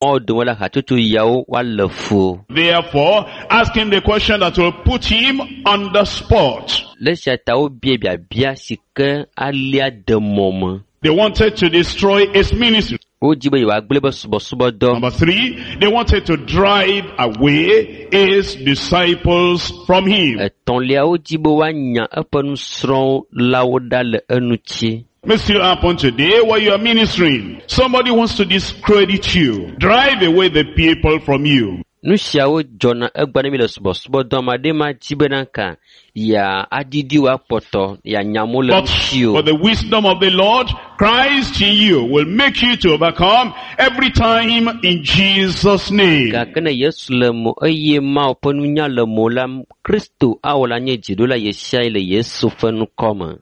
Mawo dome la hatsotso yawo woalé fu wo. Therefore, ask him the question that will put him on the spot. Le esia ta wobia biabia si ke alia de mɔ me. They wanted to destroy his ministry. Wodzi be yewoagblẽ be subɔsubɔdɔ. Number three, they wanted to drive away his disciples from him. Etɔ̃lia wodzi be woanya eƒe nusrɔ̃lawo ɖa le eŋuti. May still happen today while you are ministering. Somebody wants to discredit you, drive away the people from you. Nu siawo dzɔna egbea ne mi le subɔsubɔdɔ ame aɖe ma dzi bena ka ya aɖiɖi wo akpɔtɔ yeanya amewo le But ŋuti o. for the wisdom of the Lord, Christ in you will make you to overcome every time in Jesus' name. Gake ne Yesu le mo eye Mawu ƒe nunya le mo la, Kristo awɔ la nye dziɖula ɣesiaɣi le Yesu ƒe ŋkɔ me.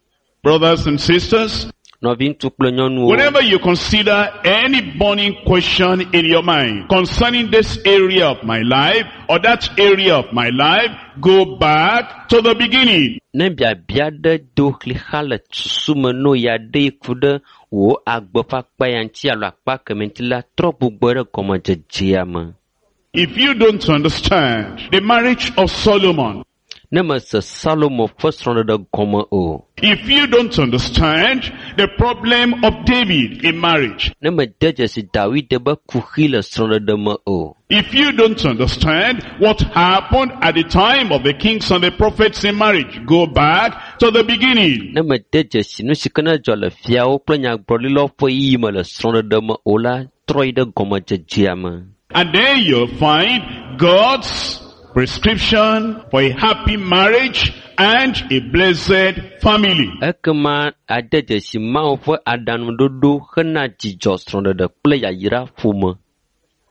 Brothers and sisters, Nɔviŋutsu kple nyɔnuwo, whenever you consider any burning question in your mind concerning this area of my life or that area of my life, go back to the beginning. Ne biabia ɖe do xlixa le susu me no ya ɖe ku ɖe wò agbe ƒe akpa ya ŋuti alo akpa kemɛ ŋuti la, trɔ gbugbɔ ɖe gɔmedzedzea me. If you don't understand the marriage of Solomon, Ne mese Salomo ƒe srɔ̃ɖeɖe gɔme o, if you don't understand the problem of David in marriage, ne mede dzesi Dawid be kuxi le srɔ̃ɖeɖe me o, if you don't understand what happened at the time of the kings and the prophets in marriage, go back to the beginning. Ne mede dzesi nu si ke ne dzɔ le fiawo kple nyagblɔɖilawo ƒe yiyi me le srɔ̃ɖeɖe me o la, trɔ yi ɖe gɔmedzedzea me. And then you'll find God's prescription for a happy marriage and a blessed family. Ekema ade dzesi Mawu ƒe aɖaŋuɖoɖo hena dzidzɔ srɔ̃ɖeɖe kple yayra ƒome.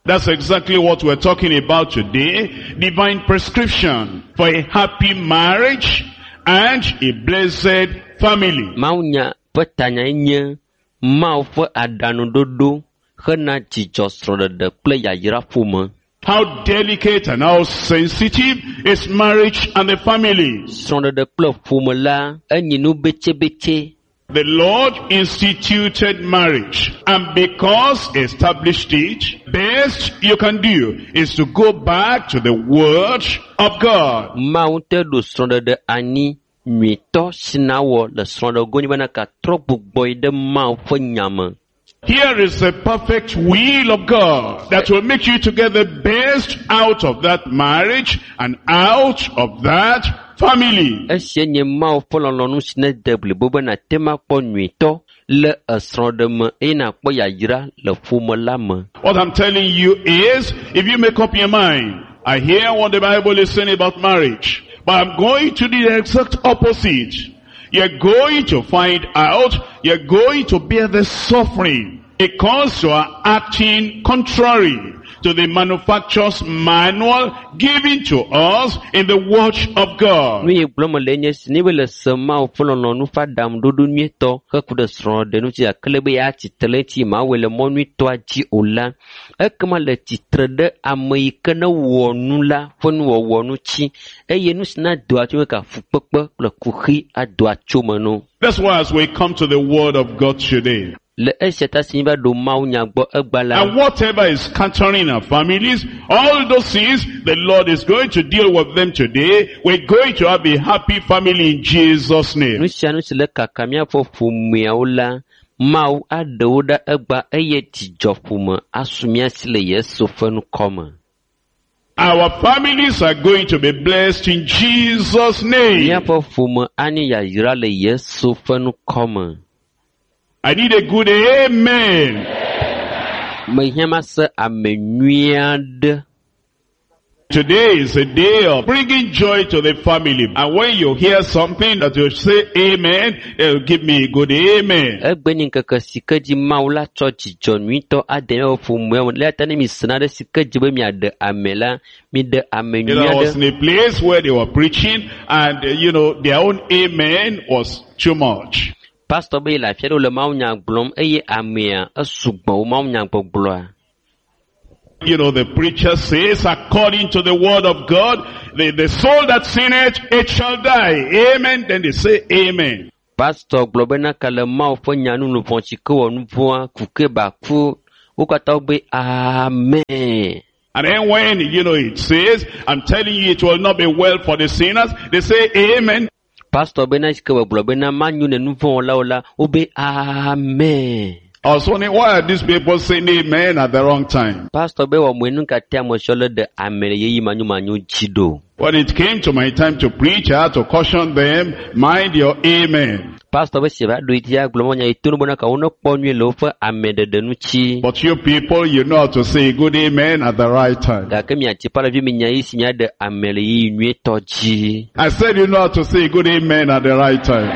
That's exactly what we're talking about today. Divine prescription for a happy marriage and a blessed family. Mawunya ƒe tanyae nye Mawu ƒe aɖaŋuɖoɖo hena dzidzɔ srɔ̃ɖeɖe kple yayra ƒome. How delicate and how sensitive is marriage and the family. Srɔ̃ɖeɖe kple ƒome la enyi nu betsebetse. The Lord instituted marriage, and because he established it, best you can do is to go back to the Word of God. Mawu ŋutɔe ɖo srɔ̃ɖeɖe anyi nyuitɔ si nawɔ le srɔ̃ɖego nyi bena katrɔ gbugbɔ yi ɖe Mawu ƒe nya me. Here is the perfect will of God that will make you to get the best out of that marriage and out of that family. Esia nye Mawu ƒe lɔlɔ̃nu si nede blibo be nàte ŋu akpɔ nyuitɔ le esrɔ̃ɖe me eye nàkpɔ yayra le ƒome la me. What I'm telling you is, if you make up your mind, I hear what the Bible is saying about marriage, but I'm going to do the exact opposite. You're going to find out, you're going to bear the suffering because you are acting contrary to the manufacturer's manual given to us in the Word of God. Nu yi gblɔm mele nye esi, ne be le se Mawu ƒe lɔlɔ̃nu ƒe aɖaŋuɖoɖo nyuietɔ heku ɖe srɔ̃ɖeɖe ŋuti gake le be yeatsi tre ɖe eŋuti mawɔe le mɔ nyuitɔa dzi o la, ekema le tsitre ɖe ame yi ke ne wɔ nu la ƒe nuwɔwɔ ŋuti eye nu si na doa tso me ka fukpekpe kple kuxi adoa tso me no. That's why as we come to the Word of God today, Le esia ta si míva ɖo Mawunya gbɔ egba la, and whatever is scattering our families, all those things, the Lord is going to deal with them today. We're going to have a happy family in Jesus' name. Nu sia nu si le kaka míaƒe ƒomeawo la, Mawu aɖe wo ɖa egba eye dzidzɔ ƒome asu mía si le Yesu ƒe ŋkɔ me. Our families are going to be blessed in Jesus' name. Míaƒe ƒome anye yayra le Yesu ƒe ŋkɔ me. I need a good amen. Mehiã mase ame nyui aɖe. Today is a day of bringing joy to the family. And when you hear something that you say amen, it'll give me a good amen. Egbe nye ŋkeke si ke dzi Mawu la tsɔ dzidzɔ nyuitɔ ade míaƒe ƒomea me. Eya ta ne mise nane si ke dzi be miaɖe ame la, miɖe ame nyui I was aɖe. in a place where they were preaching and, their own amen was too much. Pastor be yele afi aɖe wole mawunya gblɔm eye amea esugbɔ wo mawunya gbɔgblɔa. The preacher says, according to the word of God, the soul that sinneth, it shall die. Amen. Then they say amen. Pastor gblɔ bena ka le Mawu ƒe nya nu luʋɔ si ke wɔ nu vɔ̃a, ku ke ba ku. Wo katã wogbe amen. And then when, it says, I'm telling you it will not be well for the sinners, they say amen. Pastor bena si ke wògblɔ bena manyo ne nu vɔ̃ wɔlawo la, wobe amen. I was wondering, why are these people saying amen at the wrong time? Pastor be wɔ moe nu ka te ame siawo le ɖe ame le ɣeyiɣi manyomanyo dzi ɖo. When it came to my time to preach, I had to caution them, mind your amen. Pastor be si va ɖo edzi agblɔ mɔ nya yi to no bena ka wo nekpɔ nyuie le woƒe ameɖeɖe ŋuti. But you people, you know how to say a good amen at the right time. Gake miatsi ƒe mi nya yi si miaɖe ame le ɣeyiɣi nyuietɔ dzi. I said you know how to say a good amen at the right time.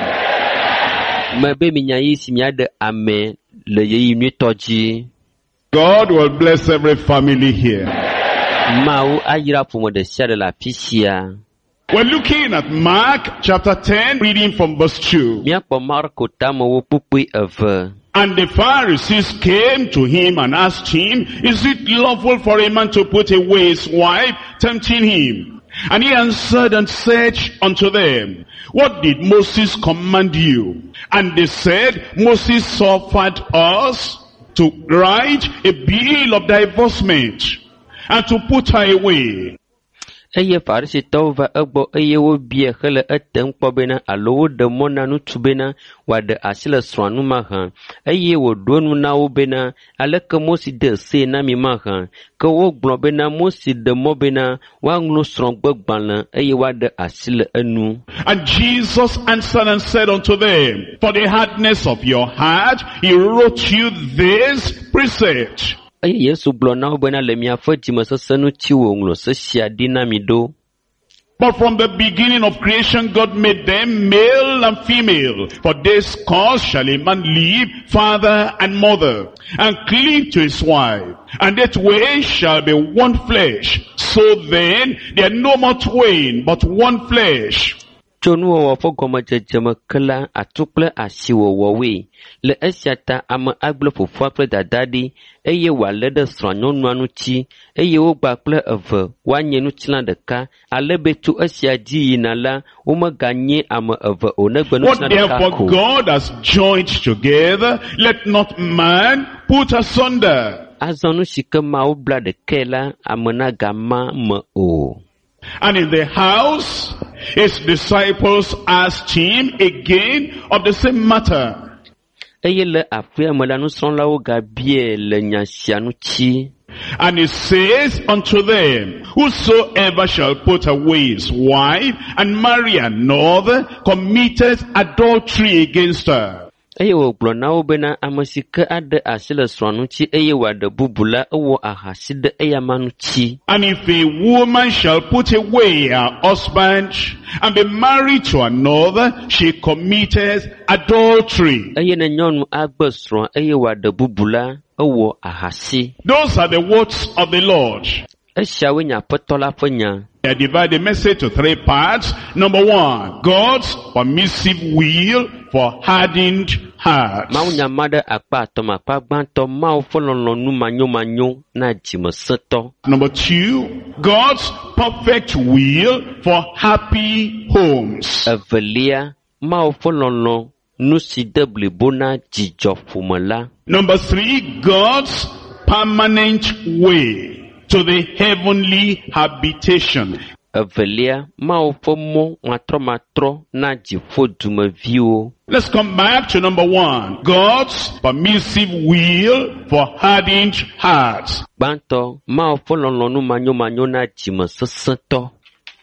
Mebe mi nya yi si miaɖe ame le ɣeyiɣi nyuietɔ dzi. God will bless every family here. Mawu ayra ƒome ɖe sia ɖe le afi sia. We're looking at Mark chapter 10, reading from verse 2. Míakpɔ Marko tamewo kpukpui eve. And the Pharisees came to him and asked him, Is it lawful for a man to put away his wife, tempting him? And he answered and said unto them, What did Moses command you? And they said, Moses suffered us to write a bill of divorcement and to put her away. Eye Farisitɔwo va egbɔ eye wobiae hele etem kpɔ bena alo woɖe mɔ na ŋutsu bena wòaɖe asi le srɔ̃a ŋu mahã. Eye wòɖo eŋu na wo bena aleke Mose de see na mi mahã. Ke wogblɔ bena Mose ɖe mɔ bena woaŋlɔ srɔ̃gbegbalẽ eye woaɖe asi le enu. And Jesus answered and said unto them, For the hardness of your heart, he wrote you this precept. Eye Yesu gblɔ na wo bena le miaƒe dzimesesẽ ŋuti wòŋlɔ se sia ɖi na mi ɖo. But from the beginning of creation, God made them male and female. For this cause shall a man leave father and mother, and cleave to his wife, and that way shall be one flesh. So then, they are no more twain, but one flesh. Tso nuwɔwɔ ƒe gɔmedzedze me ke la, atsu kple asi wòwɔ woe. Le esia ta ame agblẽ fofoa kple dadaa ɖi eye wòalé ɖe srɔ̃a nyɔnua ŋuti eye wogba kple eve woanye ŋutilã ɖeka ale be tso esia dzi yina la, womeganye ame eve o negbe What ŋutilã ɖeka therefore ko. God has joined together, let not man put asunder. Azɔ nu si ke Mawu bla ɖekae la, ame nagama me o. And in the house, his disciples asked him again of the same matter. Eye le aƒea me la, nusrɔ̃lawo gabiae le nya sia ŋuti. And he says unto them, Whosoever shall put away his wife and marry another committeth adultery against her. Eye wògblɔ na wo bena ame si ke aɖe asi le srɔ̃a ŋuti eye wòaɖe bubu la, ewɔ ahasi ɖe eyama ŋuti. And if a woman shall put away her husband and be married to another, she committeth adultery. Eye ne nyɔnu agbe srɔ̃a eye wòaɖe bubu la, ewɔ ahasi. Those are the words of the Lord. Esiawoe nye Aƒetɔ la ƒe nya. I divide the message to three parts. Number one, God's permissive will for hardened hearts. Mawu nya ma ɖe akpa atɔ̃ me. Akpa gbãtɔ, Mawu ƒe lɔlɔ̃nu manyomanyo na dzimesẽtɔ. Number two, God's perfect will for happy homes. Evelia, Mawu ƒe lɔlɔ̃ nu si de blibo na dzidzɔƒome la. Number three, God's permanent way to the heavenly habitation. Evelia, Mawu ƒe mɔ matrɔmatrɔ na dziƒo dumeviwo. Let's come back to number one, God's permissive will for hardened hearts. Gbãtɔ, Mawu ƒe lɔlɔ̃nu manyomanyo na dzimesesẽtɔ.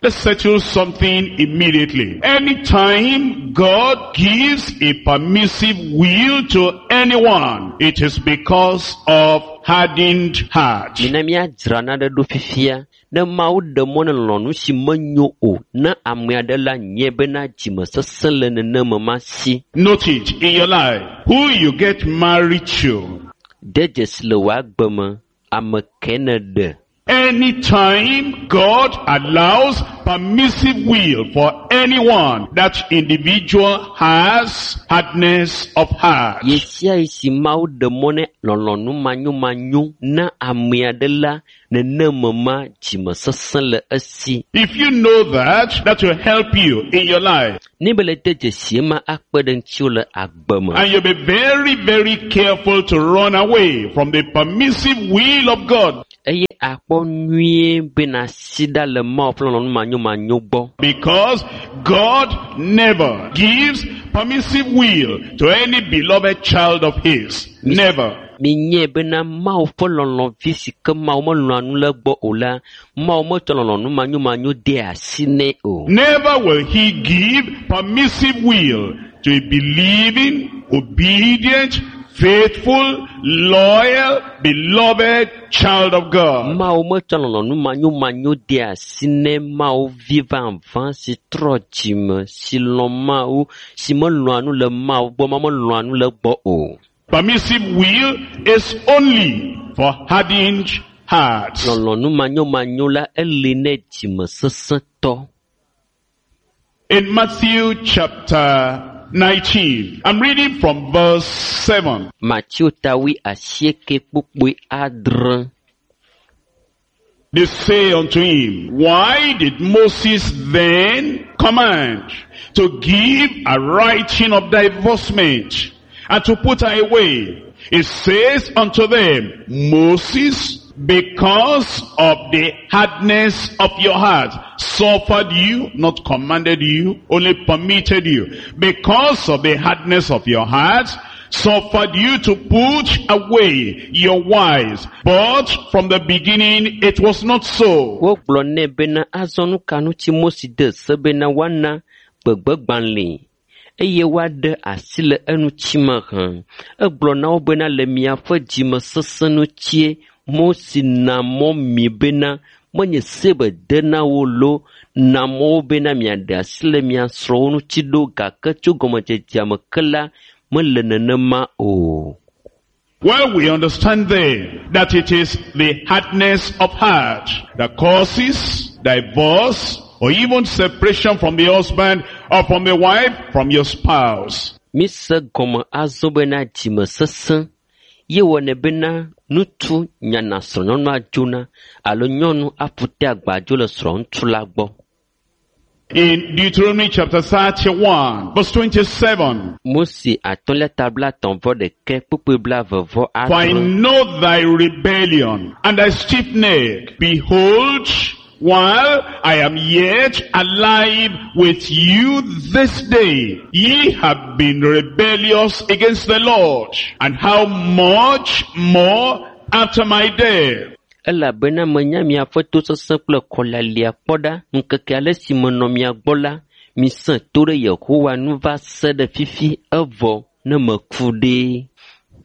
Let's settle something immediately. Anytime God gives a permissive will to anyone, it is because of hardened heart. Mina míadzra naɖe ɖo fifia. Ne Mawu ɖe mɔ ne lɔlɔ̃nu si menyo o na ame aɖe la, nye bena dzimesesẽ le nenema ma si. Note it in your life. Who you get married to De dzesi le wò agbe me, ame ke ne ɖe. Anytime God allows permissive will for anyone, that individual has hardness of heart. Ɣe sia ɣi si Mawu ɖe mɔ ne lɔlɔ̃nu manyomanyo na ame aɖe la, nenema ma dzimesesẽ le esi. If you know that, that will help you in your life. Ne be le de dzesi ema akpe ɖe ŋutiwò le agbe me. And you'll be very, very careful to run away from the permissive will of God. Eye akpɔ nyuie be nàsi ɖa le Mawu ƒe lɔlɔ̃nu manyomanyo gbɔ. Because God never gives permissive will to any beloved child of his. Never. Minyae bena Mawu ƒe lɔlɔ̃vi si ke Mawu melɔ̃a nu le egbɔ o la, Mawu metsɔ lɔlɔ̃nu manyomanyo de asi nɛ o. Never will he give permissive will to a believing, obedient, faithful, loyal, beloved child of God. Mawu metsɔ lɔlɔ̃nu manyomanyo de asi nɛ Mawu vi vavã si trɔ dzime, si lɔ̃ Mawu, si melɔ̃a nu le Mawu gbɔ, ma melɔ̃a nu le egbɔ o. Permissive will is only for hardened hearts. Lɔlɔ̃nu manyomanyo la eli nɛ dzimesesẽtɔ. In Matthew chapter 19, I'm reading from verse 7. Mateo ta 98 kpukpui 7. They say unto him, why did Moses then command to give a writing of divorcement and to put her away? It says unto them, Moses, because of the hardness of your heart, suffered you, not commanded you, only permitted you. Because of the hardness of your heart, suffered you to put away your wives. But from the beginning it was not so. Wogblɔ nɛ bena azɔ nu ka ŋuti Mose de se bena woana gbegbegbalẽe eye woaɖe asi le eŋuti me hã. Egblɔ na wo bena le miaƒe dzimesesẽ ŋutie Mose na mɔ mi bena menye se be de na wo loo na mɔ wo bena miaɖe asi le mia srɔ̃wo ŋuti ɖo gake tso gɔmedzedzea me ke la mele nenema o. Well, we understand then that it is the hardness of heart that causes divorce or even separation from the husband or from the wife, from your spouse. Mise gɔme azɔ bena dzimesesẽ ye wɔnɛ bena ŋutsu nyana srɔ̃nyɔnua dzona alo nyɔnu aƒu te agba dzo le srɔ̃ŋutsu la gbɔ. In Deuteronomy chapter 31, verse 27, Mose atɔ̃lia ta 31 kpukpui 22 For I adre. know thy rebellion and thy stiff neck. Behold, while I am yet alive with you this day, ye have been rebellious against the Lord. And how much more after my death? Elabena menya miaƒe tosesẽ kple kɔlialia kpɔ ɖa ŋkeke ale si menɔ mia gbɔ la, misẽ to ɖe Yehowa nu va se ɖe fifi evɔ ne meku ɖe.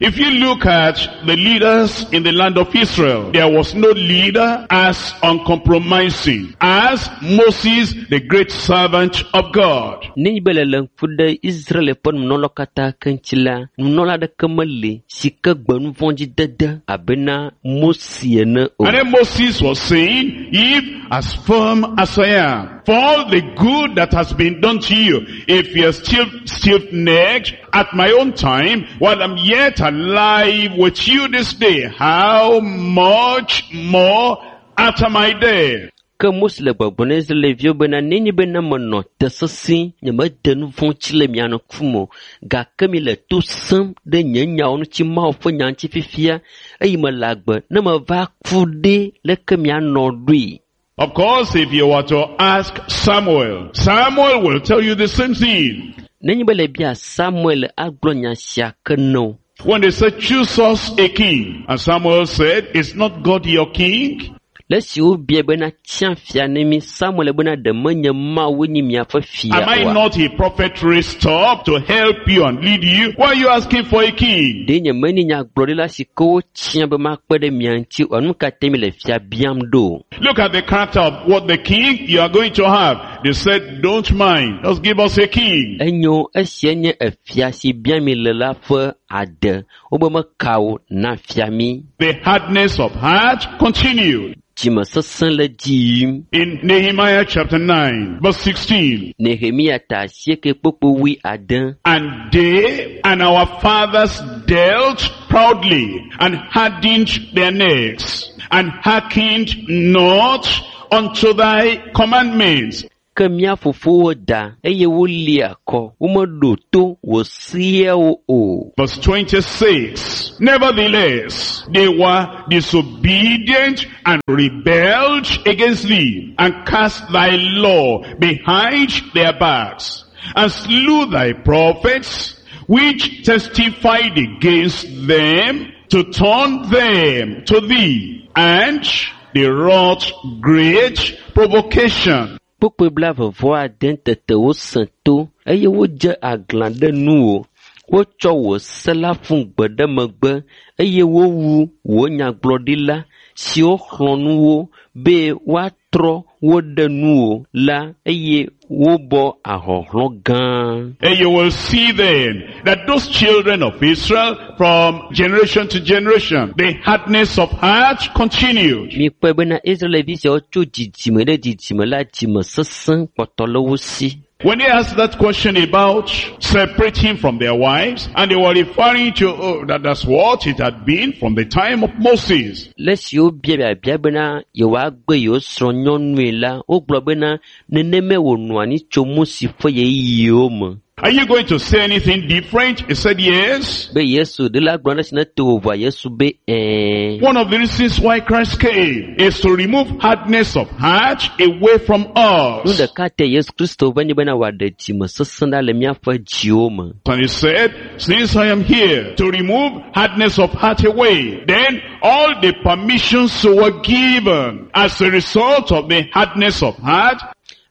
If you look at the leaders in the land of Israel, there was no leader as uncompromising as Moses, the great servant of God. Nenye be le le ŋku ɖe Israel ƒe nunɔlawo katã ke ŋuti la, nunɔla aɖeke meli si ke gbe nu vɔ̃ dzi dede abena Mose ene o. And then Moses was saying, if as firm as I am, for all the good that has been done to you, if you are still stiff-necked at my own time, while I'm yet alive with you this day, how much more after my death? Ke Mose le gbɔgblɔm na Israelviwo bena nenye bena menɔ te sesẽ, nyemede nu vɔ̃ ŋuti le mia ŋkume o, gake mi le to sẽm ɖe nye nyawo ŋuti Mawu ƒe nya ŋuti fifia eye mele agbe ne meva ku ɖe leke mianɔ ɖoe. Of course, if you were to ask Samuel, Samuel will tell you the same thing. Nenye be le bia Samuel agblɔ nya sia ke na wo. When they said, choose us a king, and Samuel said, is not God your king? Le esi wobia bena tia fia ne mi, Samuel bena ɖe menye Mawu nye miaƒe fia Am I oa? not a prophet raised up to help you and lead you? Why are you asking for a king? Ɖe nye menye nyagblɔɖila si ke wotia be makpe ɖe mia ŋuti oa? Nu ka te mi le fia biam ɖo? Look at the character of what the king you are going to have. They said, don't mind. Just give us a king. Enyo esia nye efia si bia mi le la ƒe ade. Wobe meka o na fia mi. The hardness of heart continued. Dzimesesẽ le dzi yim. In Nehemiah chapter 9, verse 16. Nehemia ta asieke kpokpo wui ade. And they and our fathers dealt proudly and hardened their necks and hearkened not unto thy commandments. Ke mía fofowo da eye woli akɔ. Womeɖo to wò seawo o. Verse 26. Nevertheless, they were disobedient and rebelled against thee and cast thy law behind their backs and slew thy prophets which testified against them to turn them to thee. And they wrought great provocation. Kpukpui blaeve-vɔ-ade tete wosẽ to eye wodze aglã ɖe nuwò. Wotsɔ wò se la ƒu gbe ɖe megbe eye wowu wò nyagblɔɖila siwo xlɔ̃ nu wo be woatrɔ wo ɖe nuwò la eye wobɔ ahɔhlɔ̃ gã. And you will see then that those children of Israel from generation to generation, the hardness of heart continued. Mikpɔe bena Israelvi siawo tso dzidzime ɖe dzidzime la dzime sesẽ kpɔtɔ le wo si. When they asked that question about separating from their wives, and they were referring to, oh, that's what it had been from the time of Moses. Le esi wobia biabia bena yewoagbe yewo srɔ̃ nyɔnue la, wogblɔ bena nenemae wònɔ anyi tso Mose ƒe ɣeyiɣiwo me. Are you going to say anything different? He said yes. Be Yesu ɖe la gblɔ ɖe si ne to vovoa Yesu be ɛɛ. One of the reasons why Christ came is to remove hardness of heart away from Nu us. ɖeka te Yesu Kristo va nye bena wòaɖe dzime sesẽ ɖa le míaƒe dziwo me. And he said, since I am here to remove hardness of heart away, then all the permissions were given as a result of the hardness of heart.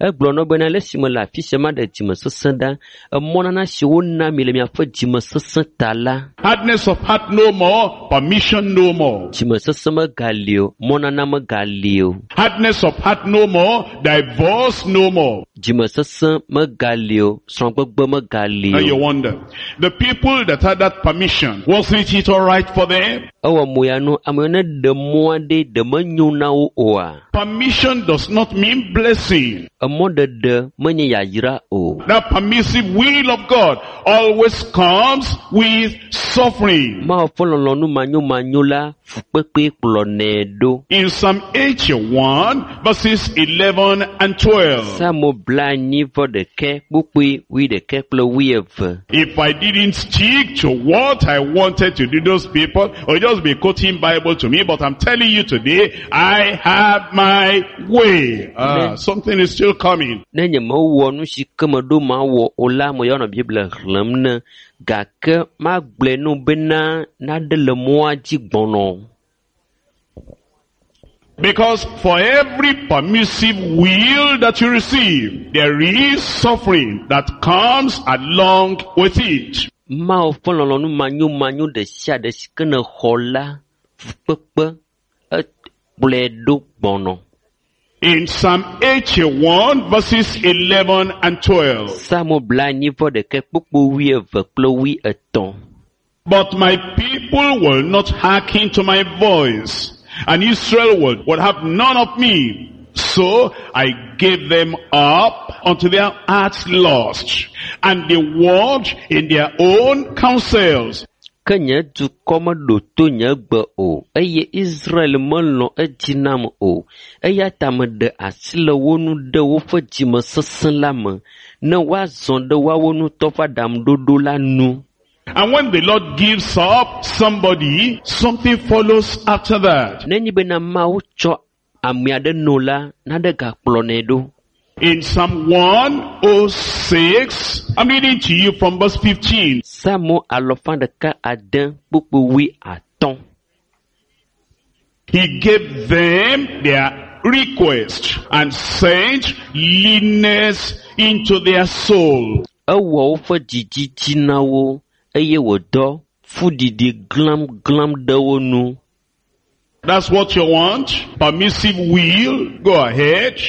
Egblɔ na wo bena le esime le afi sia maɖe dzime sesẽ ɖa, emɔnana si wona mi le miaƒe dzime sesẽ ta la, Hardness of heart no more, permission no more. dzime sesẽ megali o, mɔnana megali o. Hardness of heart no more, divorce no more. Dzime sesẽ megali o, srɔ̃gbegbe megali Now you o. wonder, the people that had that permission, wasn't it all right for them? Ewɔ mo ya nu, amewo ne ɖe mɔ aɖe ɖe menyo na wo oa? Permission does not mean blessing. Emɔɖeɖe menye yayra o. That permissive will of God always comes with suffering. Mawu ƒe lɔlɔ̃nu manyomanyo la fukpekpe kplɔnɛ ɖo. In Psalm 81 verses 11 and 12. Psalmo blaenyi vɔ ɖekɛ kpukpui wuiɖekɛ kple wuieve. If I didn't stick to what I wanted to do, those people will just be quoting Bible to me, but I'm telling you today, I have my way. Something is still coming. Ne nye mewɔ nu si ke meɖo mawɔ o la, meyɔ nɔ Biblia xlẽm ne gake magblɔe no bena naɖe le mɔa dzi gbɔnɔ. Because for every permissive will that you receive, there is suffering that comes along with it. Mawu ƒe lɔlɔ̃nu manyomanyo ɖe sia ɖe si ke nèxɔ la, fukpekpe ekplɔe ɖo gbɔnɔ. In Psalm 81 verses 11 and 12. Psalmo blaenyi vɔ ɖekɛ kpukpu wuieve kple wuietɔ̃. But my people will not hearken to my voice, and Israel will have none of me. So I gave them up unto their hearts' lust, and they walked in their own counsels. Ke nye dukɔ meɖo to nye gbe o, eye Israel melɔ̃ edzi nam o. Eya ta meɖe asi le wo ŋu ɖe woƒe dzime sesẽ la me, ne woazɔ ɖe woawo ŋutɔ ƒe aɖaŋuɖoɖo la nu. And when the Lord gives up somebody, something follows after that. Nenye bena Mawu tsɔ ame aɖe no la, naɖe gakplɔnɛ ɖo. In Psalm 106, I'm reading to you from verse 15. Psalmo alɔfa ɖeka ade kpukpu wui atɔ̃. He gave them their request and sent leanness into their soul. Ewɔ woƒe dzidzi dzi na wo eye wòdɔ fuɖiɖi glamglam ɖe wo nu. That's what you want? Permissive will? Go ahead.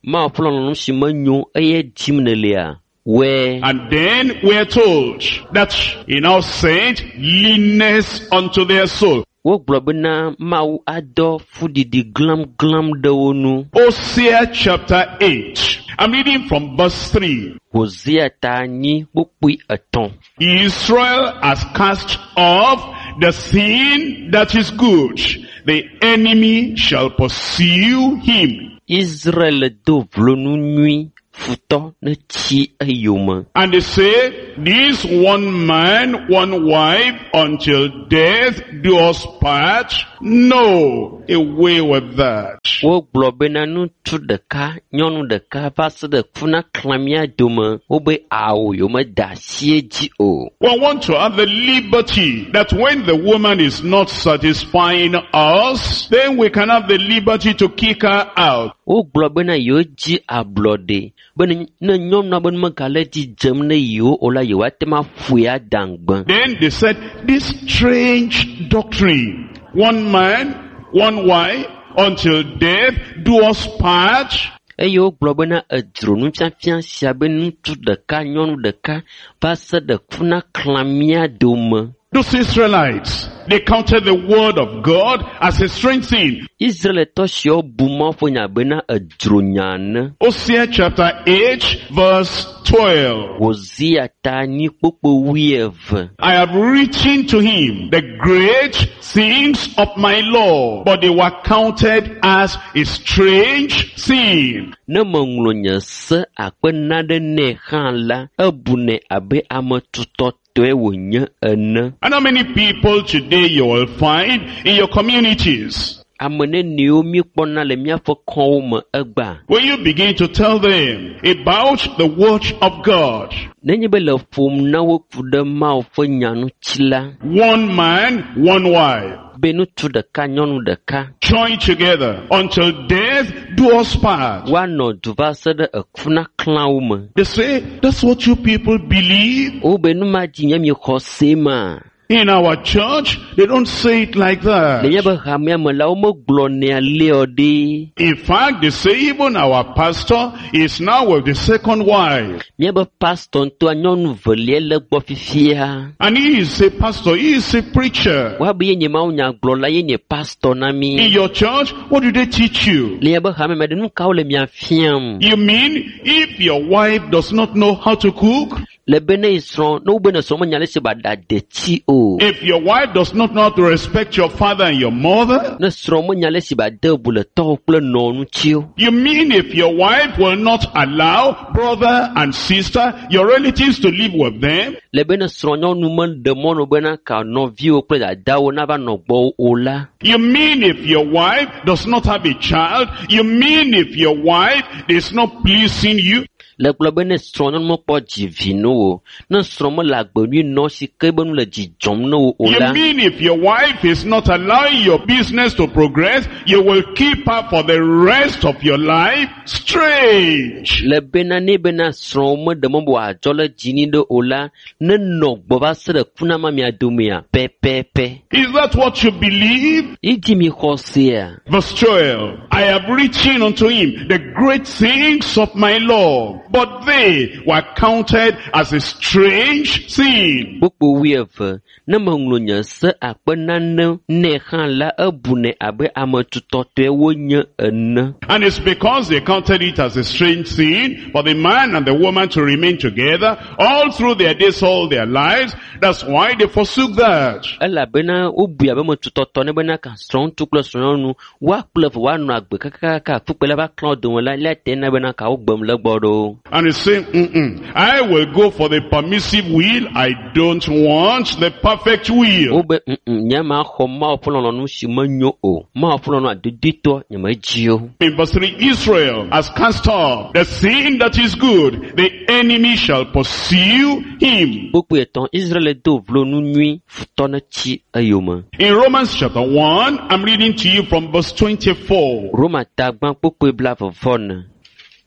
Mawu ƒe lɔlɔ̃nu si menyo eye dim nèlea, wɔe. And then we are told that he now sent leanness unto their soul. Wogblɔ bena Mawu adɔ fuɖiɖi glamglam ɖe wo nu. Hosea chapter 8. I'm reading from verse 3. Hosea ta 8 kpukpui 3. Israel has cast off the thing that is good. The enemy shall pursue him. Israel do vlo nu nyui, futɔ netsi eyome. And they say, this one man, one wife, until death do us part. No, away with that. Wogblɔ bena ŋutsu ɖeka, nyɔnu ɖeka va se ɖe ku na xlã mía dome. Wobe awo yewomeda asi edzi o. We want to have the liberty that when the woman is not satisfying us, then we can have the liberty to kick her out. Wogblɔ bena yewodzi ablɔɖe be ne nyɔnua be nu megale dzi dzem ne yewo o la, yewoate ŋu aƒoe ada ŋugbe. Then they said, this strange doctrine, one man, one wife, until death do us part. Eye wogblɔ bena edzro nufiafia sia be ŋutsu ɖeka, nyɔnu ɖeka va se ɖe ku na xlã mía dome. Those Israelites, they counted the word of God as a strange thing. Israelitɔ siawo bu Mawu ƒe nya bena edzro nya ene. Hosea chapter 8 verse 12. Hosea ta 8 kpukpui 12. I have written to him the great things of my law, but they were counted as a strange thing. Ne meŋlɔ nye se akpe naɖe nɛ hã la, ebunɛ abe ame tutɔtɔe wònye ene. And how many people today you will find in your communities? Ame nenewo míekpɔna le míaƒe kɔwo me egbea. When you begin to tell them about the word of God, Nenye be le ƒom na wo ku ɖe Mawu ƒe nya ŋuti la, one man, one wife, be ŋutsu ɖeka, nyɔnu ɖeka, join together until death do us part. woanɔ du va se ɖe eku na xlã wo me. They say, that's what you people believe. Wobe nu ma dzi nye miexɔ se ma. In our church, they don't say it like that. Le míaƒe hamea me la, womegblɔnɛ alea ɖe. In fact, they say even our pastor is now with the second wife. Míaƒe pastor ŋutɔa nyɔnu velia le gbɔ fifia. And he is a pastor, he is a preacher. Woabe ye nye mawunyagblɔla, ye nye pastor na mí. In your church, what do they teach you? Le miaƒe hame me ɖe, nu kawo le mia fiam? You mean if your wife does not know how to cook? Le be ne srɔ̃, ne wobe ne srɔ̃ menya ale si ba ɖa detsi o. If your wife does not know how to respect your father and your mother? Ne srɔ̃ menya ale si ba de bu le tɔwo kple nɔwo ŋuti o. You mean if your wife will not allow brother and sister, your relatives to live with them? Le be ne srɔ̃nyɔnu meɖe mɔ no bena ka nɔviwo kple dadawo nava nɔ gbɔwò o la. You mean if your wife does not have a child? You mean if your wife is not pleasing you? Le gblɔ be ne srɔ̃nyɔnu mekpɔ dzi vi no o, ne srɔ̃ mele agbe nyui nɔ si ke be nu le dzi dzɔm na wo o You la. mean if your wife is not allowing your business to progress, you will keep her for the rest of your life? Strange. Le bena ne bena srɔ̃wo meɖe mɔ be wòadzɔ le dzi ni ɖe o la, ne nɔ gbɔ va se ɖe ku na ma mia domea pɛpɛpɛ. Is that what you believe? Edzi mi xɔ sea. Verse 12, I have written unto him the great things of my law, but they were counted as a strange thing. Kpukpui 12, ne meŋlɔ nye se akpe nane nɛ hã la, ebunɛ abe ame tutɔtɔe wonye ene. And it's because they counted it as a strange thing for the man and the woman to remain together all through their days, all their lives. That's why they forsook that. Elabena wobui abe ame tutɔtɔ ne bena ka srɔ̃ŋutsu kple srɔ̃nyɔnu woakple eve woanɔ agbe kakakaka kpukpui la va klã wo dome la, lea te na bena ka wogbem le gbɔ ɖo. And he's saying, I will go for the permissive will. I don't want the perfect will. Wobe nye ma xɔ Mawu ƒe lɔlɔ̃nu si menyo o. Mawu ƒe lɔlɔ̃nu adodoetɔ nye medzi o. In verse 3, Israel has cast off the thing that is good. The enemy shall pursue him. Kpukpui 3, Israel do vlo nu nyui, futɔ netsi eyome. In Romans chapter 1, I'm reading to you from verse 24. Roma ta gbã kpukpui 24.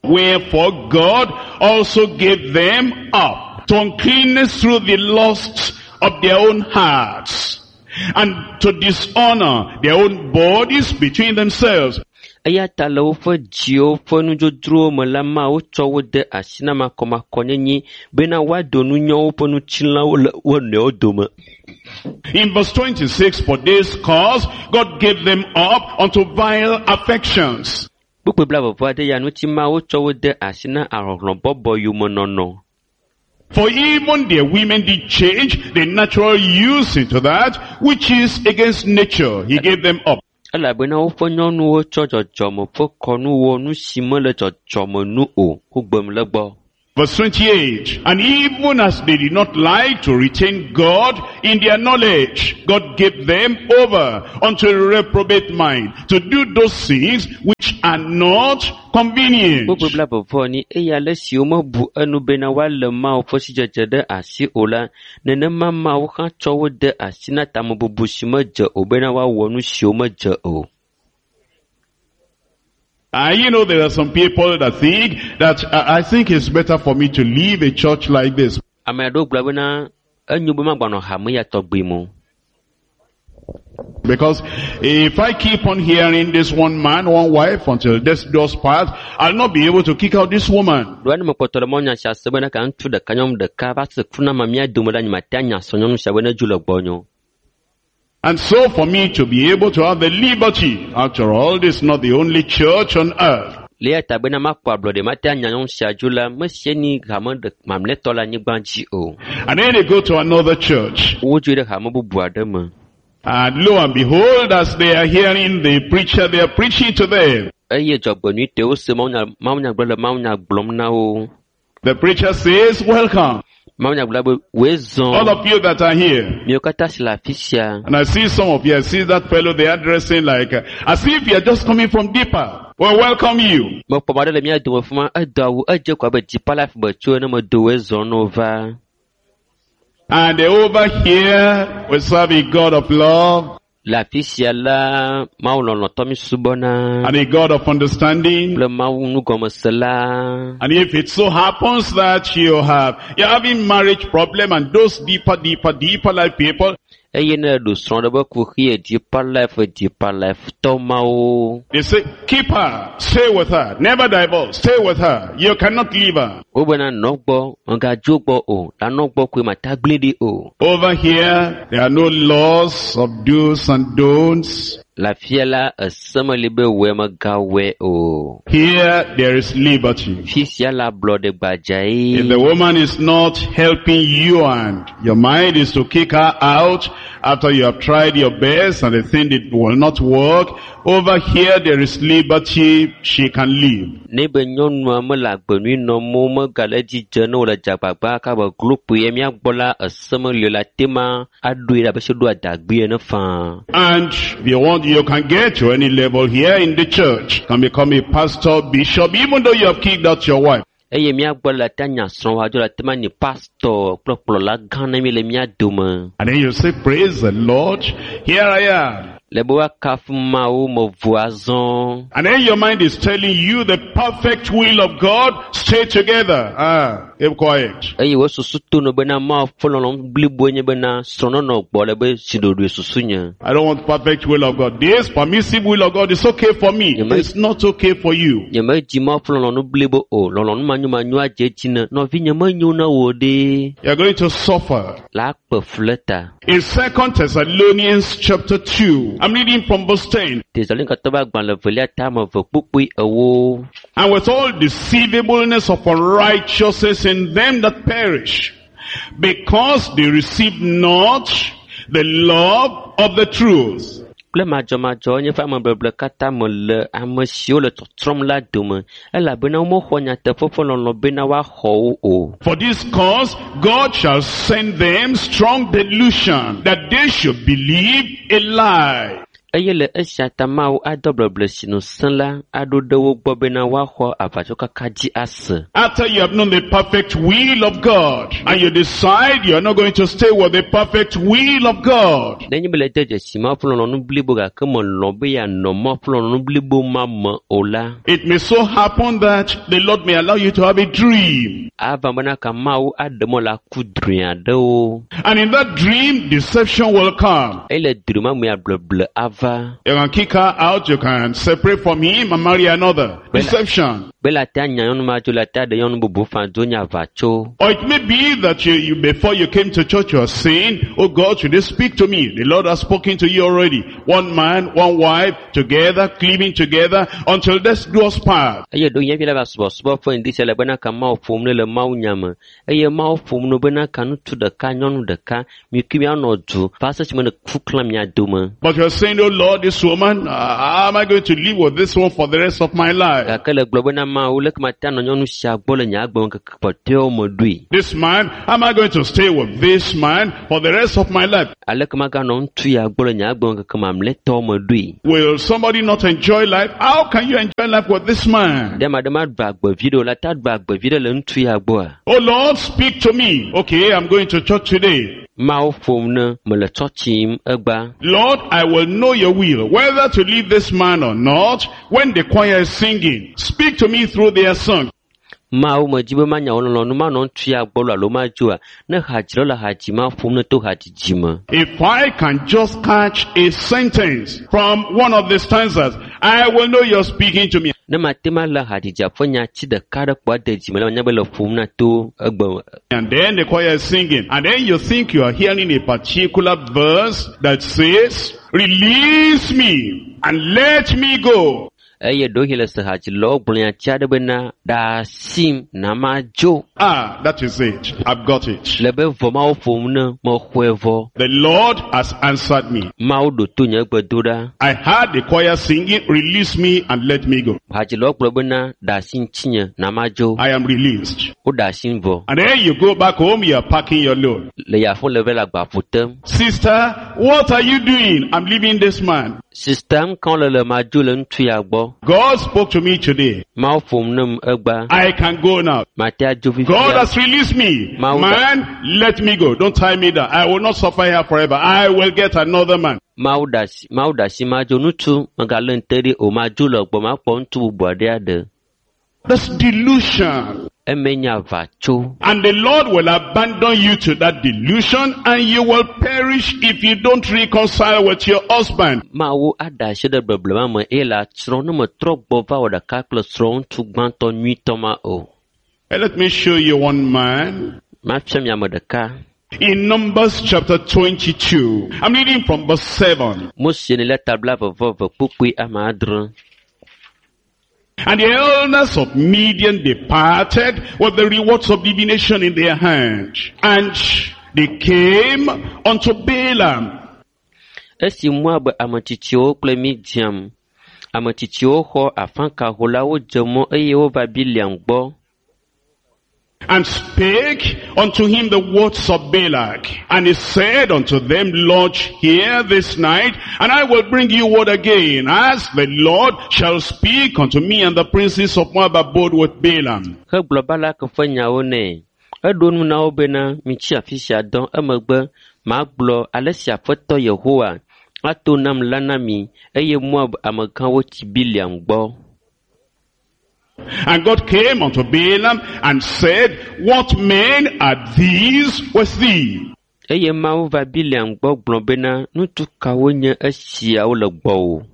Wherefore God also gave them up to uncleanness through the lusts of their own hearts, and to dishonor their own bodies between themselves. Eya ta le woƒe dziwo ƒe nudzodzrowo me la Mawu tsɔ wo de asi na makɔmakɔnyenye bena woado nunyɔ woƒe ŋutilãwo le wo nɔewo dome. In verse 26, for this cause God gave them up unto vile affections. Kpukpui blaeve-vɔ-ade ya ŋuti Mawu tsɔ wo de asi na ahlɔhlɔ̃bɔbɔ yomenɔnɔ. For even their women did change the natural use into that which is against nature. He gave them up. Elabena woƒe nyɔnuwo tsɔ dzɔdzɔme ƒe kɔnu wɔ nu si mele dzɔdzɔme nu o. Wogbem le gbɔ. Verse 28, and even as they did not like to retain God in their knowledge, God gave them over unto a reprobate mind to do those things which are not convenient. Kpukpui blaeve-vɔ-enyi eye ale si womebu enu bena woalé Mawu ƒe sidzedze ɖe asi o la, nenema Mawu hã tsɔ wo de asi na tamebubu si medze o bena woawɔ nu siwo medze o. You know, there are some people that think that I think it's better for me to leave a church like this. Ame aɖewo gblɔ bena enyo be magbanɔ hame ya tɔgbi me o. Because if I keep on hearing this one man, one wife until death does part, I'll not be able to kick out this woman. Ɖoa ne mekpɔtɔ le mɔnya sia se bena ka ŋutsu ɖeka nyɔnu ɖeka va se ku na ma mía dome la, nyemate anya srɔ̃nyɔnu sia be nedzo le gbɔnye o. And so for me to be able to have the liberty, after all, this is not the only church on earth. Le eya ta bena makpɔ ablɔɖe mate anya nyɔnu sia dzo la, mesie ni hame ɖe mamlɛtɔ le anyigba dzi o. And then they go to another church. Wodzoe ɖe hame bubu aɖe me. And lo and behold, as they are hearing the preacher, they are preaching to them. Eye dzɔgbenyuitɔe wose mawunya mawunyagblɔ le mawunya gblɔm na wo. The preacher says, welcome, Mawunyagblɔla be woe all zɔ of you that are here. miwo katã si le afi sia. And I see some of you, I see that fellow, they are dressing like, as if you are just coming from deeper. Well, welcome you. Mekpɔ ame aɖe le mía dome fi ma, edo awu, edze ko abe dzipa life me tso ene medo woe zɔ ne wova. And over here, we serve a God of love Le afi sia la, Mawu lɔlɔ̃tɔ mi subɔna and a God of understanding. kple Mawu nugɔmesela. And if it so happens that you're having marriage problem and those deeper, deeper, deeper life people, Eye ne eɖo srɔ̃ ɖe be kuxi deeper life, deeper life tɔ mawo. they say, keep her, stay with her, never divorce, stay with her. You cannot leave her. Wobena nɔ gbɔ, megadzo gbɔ o, la nɔ gbɔ koe mata gblẽ ɖi o. Over here, there are no laws of do's and don'ts. Le afia la, ese meli be wɔe megawɔe o. Here, there is liberty. Fi sia la ablɔɖe gbadzae. If the woman is not helping you and your mind is to kick her out after you have tried your best and they think it will not work, over here there is liberty, she can leave. Ne be nyɔnua mele agbe nyui nɔm o, megale edzi dze ne wòle dzagbagba kaba glo kpoe mía gbɔ la, ese meli o le ate ma aɖoe ɖe abe se ɖo adagbui ene faa. And if you want, you can get to any level here in the church. Can become a pastor, bishop, even though you have kicked out your wife. Eye mía gbɔ le ate anya srɔ̃wòa dzo le ate ma nyi pastor kple kplɔla gã ne mi le mía dome. And then you say, praise the Lord, here I am. Le be woakafu Mawu mevo azɔ. And then your mind is telling you the perfect will of God, stay together. Keep quiet. Eye wo susu to no bena Mawu ƒe lɔlɔ̃nu bliboe nye bena srɔ̃nɔnɔ gbɔ le be zi ɖoɖoe susu nye. I don't want perfect will of God. This permissive will of God is okay for me. Amen. It's not okay for you. Nyemedzi Mawu ƒe lɔlɔ̃nu blibo o. Lɔlɔ̃nu manyomanyo adze edzi ne nɔvinye menyo na wò ɖe. You're going to suffer. La akpe fu le ta. In 2 Thessalonians chapter 2, I'm reading from verse 10. Tesalonikatɔwo ƒe agbalẽ evelia tame eve kpukpui ewo. And with all deceivableness of unrighteousness in them that perish, because they receive not the love of the truth. Kple madzɔmadzɔ nye ƒe amebeble katã me le ame siwo le tɔtrɔm la dome, elabena womexɔ nyateƒe ƒe lɔlɔ̃ bena woaxɔ wo o. For this cause, God shall send them strong delusion, that they should believe a lie. Eye le esia ta Mawu adɔ bleble si nu sẽ la aɖo ɖe wo gbɔ bena woaxɔ aʋatsokaka dzi ase. After you have known the perfect will of God, and you decide you are not going to stay with the perfect will of God, Nenye be le de dzesi Mawu ƒe lɔlɔ̃nu blibo gake melɔ̃ be yeanɔ Mawu ƒe lɔlɔ̃nu blibo ma me o la, it may so happen that the Lord may allow you to have a dream. ava bena ka Mawu aɖe mɔ le aku drɔ̃e aɖewo. And in that dream, deception will come. Eye le drɔ̃e ma mea bleble ava. va. You can kick her out, you can separate from him and marry another. Deception. Be le ate anya nyɔnu ma dzo le ate aɖe nyɔnu bubu fã dzo nye aʋatso. Or it may be that you before you came to church, you are saying, oh God, should they speak to me? The Lord has spoken to you already. One man, one wife, together, cleaving together, until death do us part. Eye ɖo nye vi la va subɔsubɔ ƒe ŋdi sia le bena ka Mawu ƒom ne le Mawu nya me. Eye Mawu ƒom no bena ka ŋutsu ɖeka, nyɔnu ɖeka, mi kple mianɔ du va se esime ne ku klã mia dome. But you are saying, oh Lord, this woman, how am I going to live with this one for the rest of my life? Gake le gblɔ bena Mawu, leke mate anɔ nyɔnu sia gbɔ le nye agbe ŋkeke kpɔtɔewo me ɖoe? This man, how am I going to stay with this man for the rest of my life? Aleke maganɔ ŋutsu ya gbɔ le nye agbe ŋkeke mamlɛtɔwo me ɖoe? Will somebody not enjoy life? How can you enjoy life with this man? Ɖe ame aɖe maɖu agbe vi ɖe o la, ta ɖu agbe vi ɖe le ŋutsu ya gbɔa? Oh Lord, speak to me. Okay, I'm going to church today. Mawu ƒom ne mele tsɔtsi yim egba. Lord, I will know your will, whether to leave this man or not, when the choir is singing. Speak to me through their song. Mawu medzi be manya wò lɔlɔ̃nu manɔ ŋutsu ya gbɔ lo alo madzoa. Ne hadzilawo le hadzi ma ƒom ne to hadzidzi me. If I can just catch a sentence from one of the stanzas, I will know you're speaking to me. Ne mate ma le hadzidzia ƒe nyatsi ɖeka ɖe kpɔ ade dzime la, manya be le ƒom na to egbe. And then the choir is singing. And then you think you are hearing a particular verse that says, release me and let me go. Eye ɖewohĩ le se hadzilawo gblɔ nyatsi aɖe bena, ɖe asim na madzo. Ah, that is it. I've got it. Le be vɔ Mawu ƒom ne mexɔe vɔ. The Lord has answered me. Mawu ɖo to nye gbedoɖa. I heard the choir singing, release me and let me go. Hadzilawo gblɔ bena, ɖe asi ŋutinye na madzo. I am released. Woɖe asim vɔ. And then you go back home, you are packing your load. Le yaƒo le va le agbaƒo tem. Sister, what are you doing? I'm leaving this man. Sista ŋkɔ le le madzo le ŋutsu ya gbɔ. God spoke to me today. Mawu ƒom nem egba. I can go now. Mate adzo God fifia. has released me. Mawu- Man, let me go. Don't tie me down. I will not suffer here forever. I will get another man. Mawu ɖe asi, Mawu ɖe asi madzo ŋutsu megalé ŋte ɖi o madzo le gbɔ makpɔ ŋutsu bubu aɖe aɖe. That's delusion. Eme nye aʋatso. And the Lord will abandon you to that delusion and you will perish if you don't reconcile with your husband. Mawu aɖe asi ɖe beblema me eye le atsrɔ̃ ne metrɔ gbɔ va wɔ ɖeka kple srɔ̃ ŋutsu gbãtɔ nyuitɔ ma o. And let me show you one man. Mafia mi ame ɖeka. In Numbers chapter 22, I'm reading from verse 7. Mose ne le tabla veve ve kpukpui ame adre. And the elders of Midian departed with the rewards of divination in their hand. And they came unto Balaam. Esi Moab ametsitsiwo kple Midian ametsitsiwo xɔ afãkaholawo dze mɔ eye wova Biliam gbɔ. And spake unto him the words of Balak. And he said unto them, Lodge here this night, and I will bring you word again, as the Lord shall speak unto me. And the princes of Moab abode with Balaam. Hegblɔ Balak ƒe nyawo nɛ. Eɖo nu na wo bena, mitsi afi sia dɔ emegbe magblɔ ale si Aƒetɔ Yehowa ato nam la na mi eye Moab amegãwo tsi Biliam gbɔ. And God came unto Balaam and said, What men are these with thee? Eye Mawu va Biliam gbɔ gblɔ bena, ŋutsu kawo nye esiawo le gbɔwò?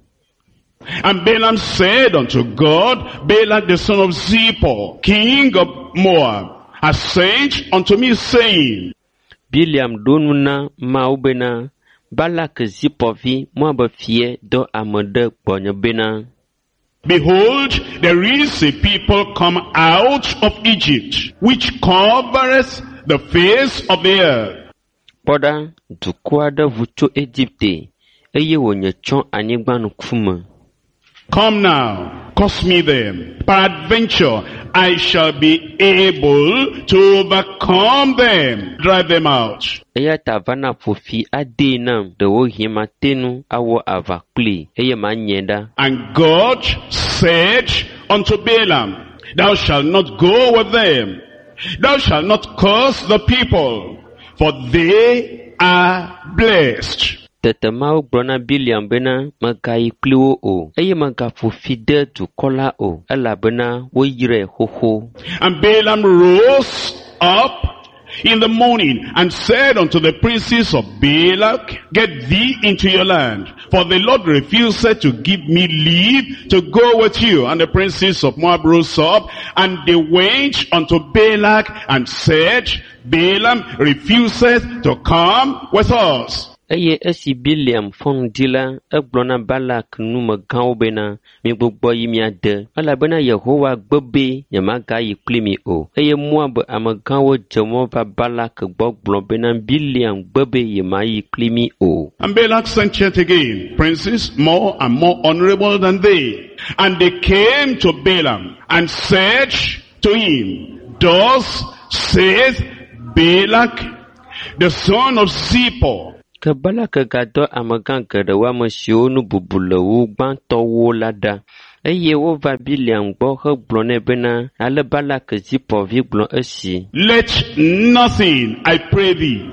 And Balaam said unto God, Balak the son of Zippor, king of Moab, has sent unto me, saying, Biliam ɖo nu na Mawu bena, Balak Zipɔr vi, Moab fia dɔ ame ɖe gbɔnye bena, Behold, there is a people come out of Egypt, which covereth the face of the earth. Kpɔ ɖa, dukɔ aɖe ʋu tso Egipte eye wònye tsɔ anyigba ŋkume. Come now, cause me them. Peradventure, I shall be able to overcome them, drive them out. Eya ta va na ƒo fi adee nam, ɖewohĩ mate ŋu awɔ aʋa kplii eye manye ɖa. And God said unto Balaam, Thou shalt not go with them. Thou shalt not curse the people, for they are blessed. Tete Mawu gblɔ na Biliam bena, megayi kpli wo o, eye megaƒo fi de dukɔ la o, elabena woyrae xoxo. And Balaam rose up in the morning and said unto the princes of Balak, Get thee into your land, for the Lord refused to give me leave to go with you. And the princes of Moab rose up, and they went unto Balak and said, Balaam refuseth to come with us. Eye esi Bileam fɔ ŋdi la, egblɔ na Balak numegãwo bena, migbugbɔ yi mia de, elabena Yehowa gbe be nyemagayi kpli mi o. Eye Moab amegãwo dze mɔ va Balak gbɔ gblɔ bena Bileam gbe be yemayi kpli mi o. And Balak sent yet again princes more and more honorable than they. And they came to Balaam and said to him, Thus saith Balak, the son of Zippor, Ke Balak gadɔ amegã geɖewo ame siwo nu bubu le wu gbãtɔwo la ɖa. Eye wova Bileam gbɔ hegblɔ nɛ bena ale Balak Zipɔr vi gblɔ esi. Let nothing, I pray thee,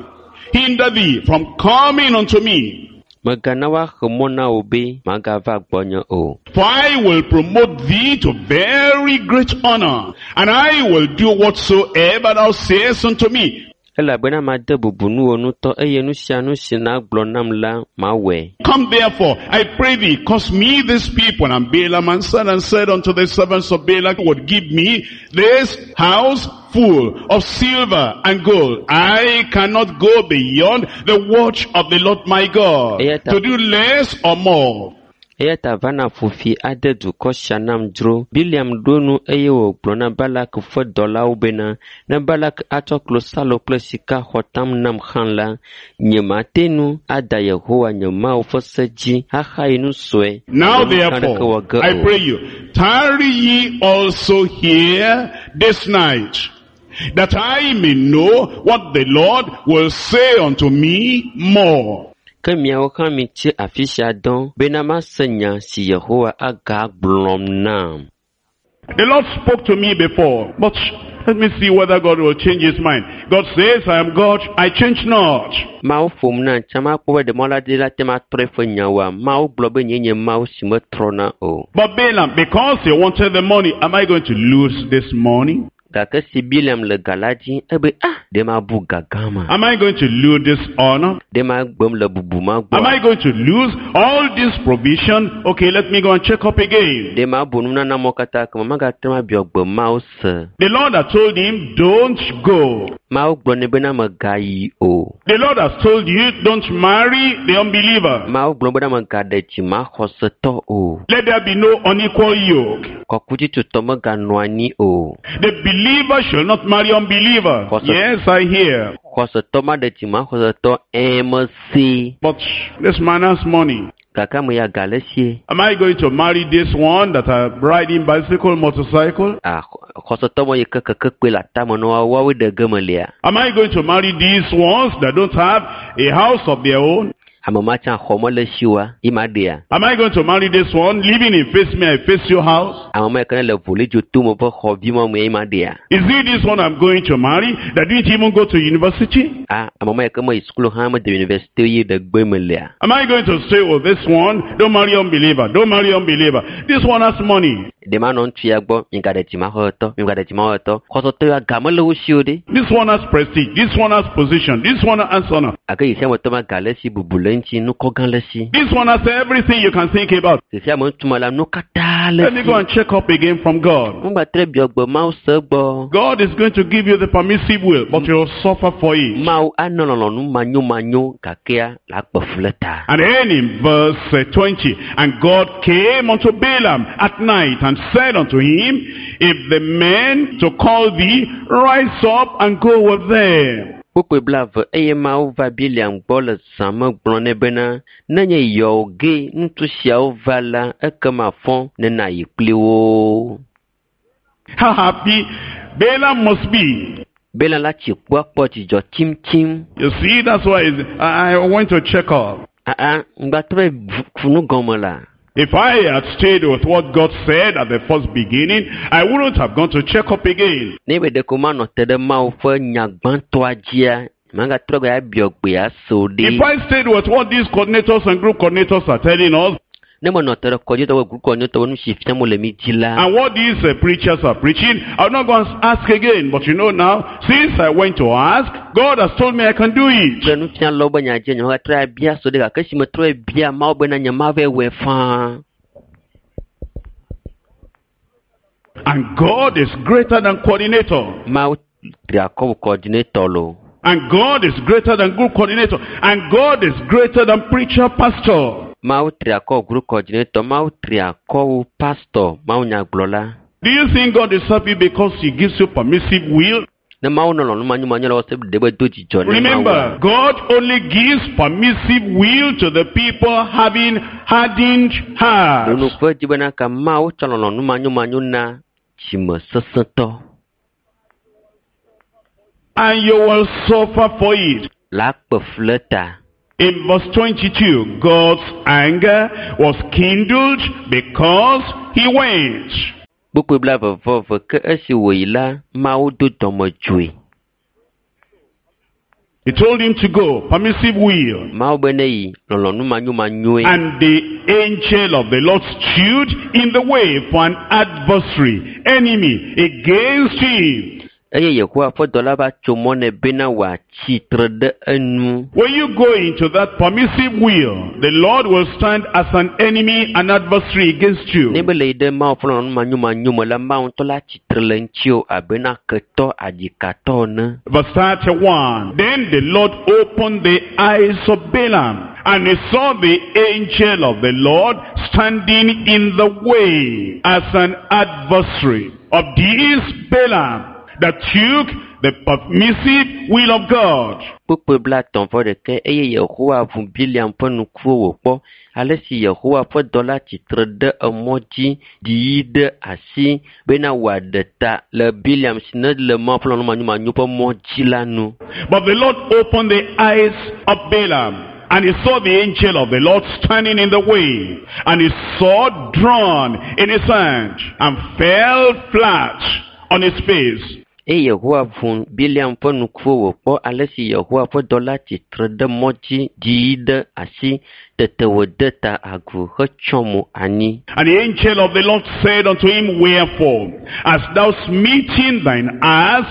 hinder thee from coming unto me. Mègana woaxe mɔ na wò be magava gbɔnye o. For I will promote thee to very great honor, and I will do whatsoever thou sayest unto me. Elabena made bubu nuwò ŋutɔ eye nu sia nu si nàgblɔ nam la mawɔe. Come therefore, I pray thee, cause me this people. And Balaam answered and said unto the servants of Balak, would give me this house full of silver and gold. I cannot go beyond the watch of the Lord my God, to do less or more. Eya ta va na ƒo fi ade dukɔ sia nam dzro. Bileam ɖo nu eye wògblɔ na Balak ƒe dɔlawo bena, ne Balak atsɔ klosalo kple sika xɔ tam nam hã la, nyemate ŋu ada Yehowa nye Mawu ƒe se dzi axayi nu sue. Now alo nu gã aɖeke wɔ therefore, ge I o. pray you, tarry ye also here this night, that I may know what the Lord will say unto me more. Ke miawo hã mitsi afi sia dɔ bena mase nya si Yehowa agagblɔm nam. The Lord spoke to me before, but let me see whether God will change his mind. God says, I am God, I change not. Mawu ƒom na tsã makpɔ be ɖe mɔla la te ma trɔ eƒe nyawoa. Mawu gblɔ be nyee nye Mawu si metrɔna o. But Balaam, because he wanted the money, am I going to lose this money? Gake si Bileam le ga la dzi, ebe ah, ɖe mabu ga gã ma? Am I going to lose this honor? Ɖe magbem le bubu ma Am gbɔa? I going to lose all this provision? Okay, let me go and check up again. Ɖe mabu nunana mɔ katã kema magate ŋu abiɔ gbe Mawu se. The Lord had told him, don't go. Mawu gblɔ nɛ bena megayi o. The Lord has told you, don't marry the unbeliever. Mawu gblɔ bena megaɖe dzimaxɔsetɔ o. Let there be no unequal yoke. Kɔkutsitsotɔ meganɔ anyi o. The believer shall not marry unbeliever. Yes, I hear. Xɔsetɔ maɖe dzimaxɔsetɔ ɛ̃ mese. But this man has money. Gake ame ya ga le esie. Am I going to marry this one that are riding bicycle, motorcycle? Ah, xɔsetɔ ma yi ke keke kpe le atame na woawo woawoe ɖe ge melia. Am I going to marry these ones that don't have a house of their own? Ame ma tsã xɔ mele si oa, ye ma ɖea. Am I going to marry this one living in face me, I face your house? Ame ma yi ke ne le volidzo tome ƒe xɔvi ma me ye ma ɖea. Is it this one I'm going to marry that didn't even go to university? Ah, ame ma yi ke meyi sukulu hã mede university ye ɖe gbe melia. Am I going to stay with this one? Don't marry unbeliever. Don't marry unbeliever. This one has money. Ɖe manɔ ŋutsu ya gbɔ, migaɖe dzimaxɔsetɔ, migaɖe dzimaxɔsetɔ. Xɔsetɔ ya ga mele wo si o ɖe. This one has prestige. This one has position. This one has honor. Gake yi sia metɔ ma ga le esi, bubu le eŋuti, nukɔ gã le esi. This one has everything you can think about. Xexea me ŋutsu me la, nu katã le Let me go esi. and check up again from God. Ŋugba biɔ gbe Mawu se gbɔ. God is going to give you the permissive will, but you'll suffer for it. Mawu anɔ lɔlɔ̃nu manyomanyo gakea le akpe fu le ta. And then in verse 20, and God came unto Balaam at night and said unto him, If the men to call thee, rise up and go with them. Kpukpui blaeve eye Mawu va Bileam gbɔ le zã me gblɔ nɛ bena, nenye yɔwò ge ŋutsu siawo va la, ekema fɔ ne nàyi kpli wo. How happy Balaam must be. Balaam la tsi kpɔa kpɔ dzidzɔ tsimtsim. You see, that's why I went to check up. Aa, ŋgba trɔ fu nu gɔme la. If I had stayed with what God said at the first beginning, I wouldn't have gone to check up again. Ne be ɖeko manɔ te ɖe Mawu ƒe nya gbãtɔa dzia, magatrɔ gbe abiɔ gbe ase o ɖe. If I stayed with what these coordinators and group coordinators are telling us, Ne menɔ te ɖe kɔdzi tɔwo group coordinator nu si fiam wole mi dzi la. And what these preachers are preaching, I'll not go and ask again. But you know now, since I went to ask, God has told me I can do it. Kple nufialawo be nya dzi nye megatrɔ abia so ɖe gake esi metrɔ bia Mawu bena nye mava wɔe faa. And God is greater than coordinator. Mawu tri akɔ wu coordinator lo. And God is greater than group coordinator. And God is greater than preacher, pastor. Mawu tri akɔ wu group coordinator. Mawu tri akɔ wu pastor, Mawu nyagblɔla. Do you think God is happy because he gives you permissive will? Ne Mawu nɔ lɔlɔ̃nu manyomanyo la wɔ se ɖe be do dzidzɔ ne Mawu. Remember, God only gives permissive will to the people having hardened hearts. Ɖo ŋku edzi bena ka Mawu tsɔ lɔlɔ̃nu manyomanyo na dzime sesẽtɔ. And you will suffer for it. La kpe fu le ta. In verse 22, God's anger was kindled because he went. Kpukpui 22 ke esi wòyi la, Mawu do dɔmedzoe. He told him to go, permissive will. Mawu be ne yi, lɔlɔ̃nu manyomanyoe. And the angel of the Lord stood in the way for an adversary, enemy, against him. Eye Yehowa ƒe dɔla va tso mɔ nɛ bena wòatsi tre ɖe enu. When you go into that permissive will, the Lord will stand as an enemy and adversary against you. Ne be le yi ɖe Mawu ƒe lɔlɔ̃nu manyomanyo me la, Mawu ŋutɔ la tsi tre le ŋutiwò abena ketɔ adzikatɔ ene. Verse 31. Then the Lord opened the eyes of Balaam, and he saw the angel of the Lord standing in the way as an adversary of this Balaam that took the permissive will of God. Kpukpui 31 eye Yehowa ʋu Biliam ƒe ŋkuwo wòkpɔ ale si Yehowa ƒe dɔla tsi tre ɖe emɔ dzi ɖii ɖe asi bena wòaɖe ta le Biliam si ne le Mawu ƒe lɔlɔ̃nu manyomanyo ƒe mɔ dzi la nu. But the Lord opened the eyes of Balaam, and he saw the angel of the Lord standing in the way, and his sword drawn in his hand, and fell flat on his face. Eye Yehowa ʋu Biliam ƒe ŋkuwo wòkpɔ ale si Yehowa ƒe dɔla tsi tre ɖe mɔ dzi ɖii ɖe asi tete wòde ta agu hetsyɔ mo anyi. And the angel of the Lord said unto him, Wherefore hast thou smitten thine ass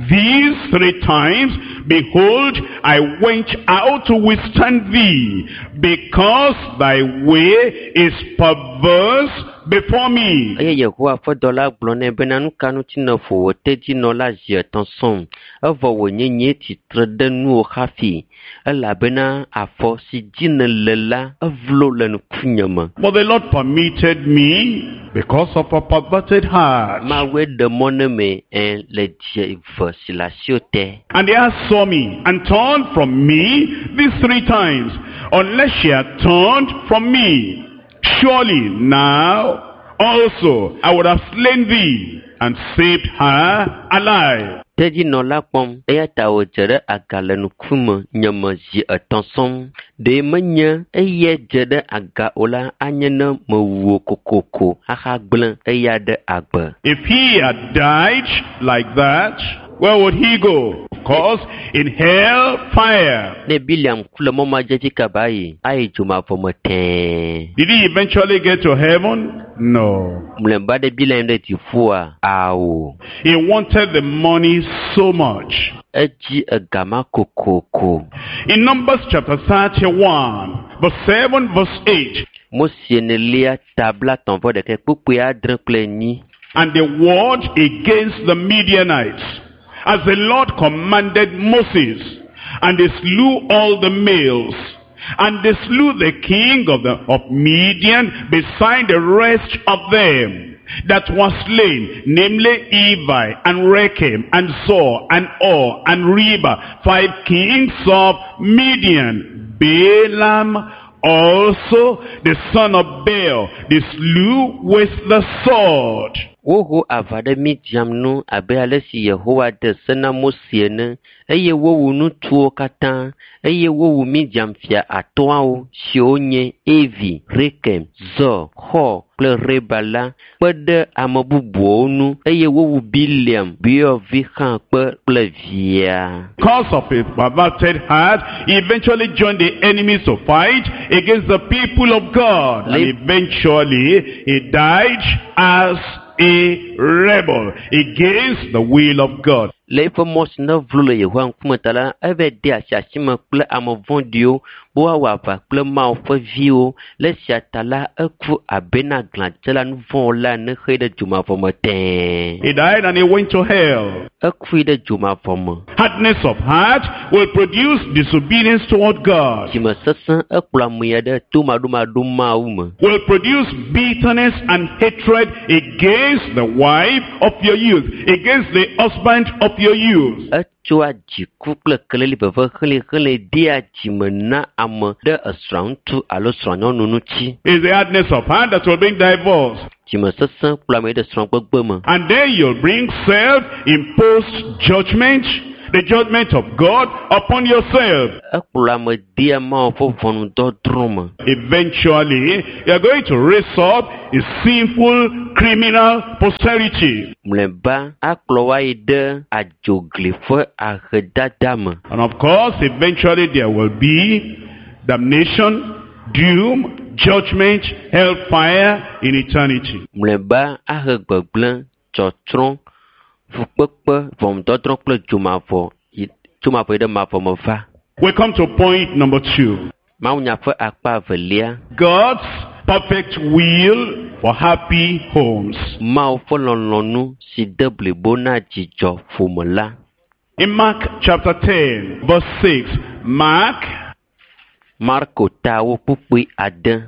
these 3 times? Behold, I went out to withstand thee, because thy way is perverse before me. Eye Yehowa ƒe dɔla gblɔ nɛ bena, nu ka ŋuti nèƒo wò tedzinɔ la zi etɔ̃ sɔŋ, evɔ wònye nyee tsi tre ɖe nuwò hafi, elabena afɔ si dzi nèle la evlo le ŋkunye me. But the Lord permitted me because of a perverted heart. Mawue ɖe mɔ ne me le dzi eve si le asiwò te. And the ass saw me and turned from me these 3 times, unless she had turned from me. Surely now also I would have slain thee and saved her alive. Tedzinɔ la kpɔm, eya ta wòdze ɖe aga le ŋkume nye me zi etɔ̃ sɔŋ. Ɖe menye eyae dze ɖe aga o la, anye ne mewu wò kokoko ahagblẽ eya ɖe agbe. If he had died like that, where would he go? Of course, in hell fire. Ne Biliam ku le mɔ ma dzi hafi kaba ayi, ayi dzomavɔ me tẽe. Did he eventually get to heaven? No. Mlɔeba ɖe Biliam ɖe dziƒoa? Ao. He wanted the money so much. Edzi egama kokoko. In Numbers chapter 31, verse 7, verse 8. Mose enelia ta 31 kpukpui 6 kple 4. And they warred against the Midianites, as the Lord commanded Moses, and they slew all the males, and they slew the king of Midian beside the rest of them that was slain, namely Evi, and Rekem, and Zur, and Hur, and Reba, 5 kings of Midian. Balaam also, the son of Beor, they slew with the sword. Woho aʋa ɖe Midian nu abe ale si Yehowa de se na Mose ene eye wowu ŋutsuwo katã eye wowu Midian fia atɔ̃awo siwo nye Evi, Rekem, Zor, Hor kple Reba la kpe ɖe ame bubuwo ŋu eye wowu Bileam, Beor vi hã kpe kple via. Because of his perverted heart, he eventually joined the enemies to fight against the people of God. And eventually, he died as a rebel against the will of God. Le eƒe mɔ si nevlo le Yehowa ŋkume ta la, eva de asi asime kple ame vɔ̃ɖiwo be woawɔ aʋa kple Mawu ƒe viwo. Le esia ta la, eku abe na glãdzela nuvɔ̃wɔla ene hee ɖe dzomavɔ me tẽe. He died and he went to hell. Eku yi ɖe dzomavɔ me. Hardness of heart will produce disobedience toward God, Dzimesesẽ ekplɔ ame ya ɖe tomaɖomaɖo Mawu me. will produce bitterness and hatred against the wife of your youth, against the husband of your youth. Etsoa dziku kple keleli veve helĩhelĩ dea dzime na ame ɖe esrɔ̃a ŋutsu alo srɔ̃nyɔnu ŋuti. It's the hardness of heart that will bring divorce. Dzimesesẽ kplɔ ame ɖe srɔ̃gbegbe me. And then you'll bring self-imposed judgment, the judgment of God upon yourself. Ekplɔ ame dea Mawu ƒe ʋɔnudɔdrɔ̃ me. Eventually, you're going to raise up a sinful criminal posterity. Mlɔeba akplɔ wo ayi ɖe adzogli ƒe ahedada me. And of course, eventually there will be damnation, doom, judgment, hellfire in eternity. Mlɔeba ahe gbegblẽ, tsɔtsrɔ̃, fukpekpe, ʋɔnudɔdrɔ̃ kple dzomavɔ yi dzomavɔ yi ɖe mavɔ me va. We come to point number 2. Mawunya ƒe akpa evelia. God's perfect will for happy homes. Mawu ƒe lɔlɔ̃nu si de blibo na dzidzɔ ƒome la. In Mark chapter 10, verse 6, Mark, Marko tawo kpukpui ade.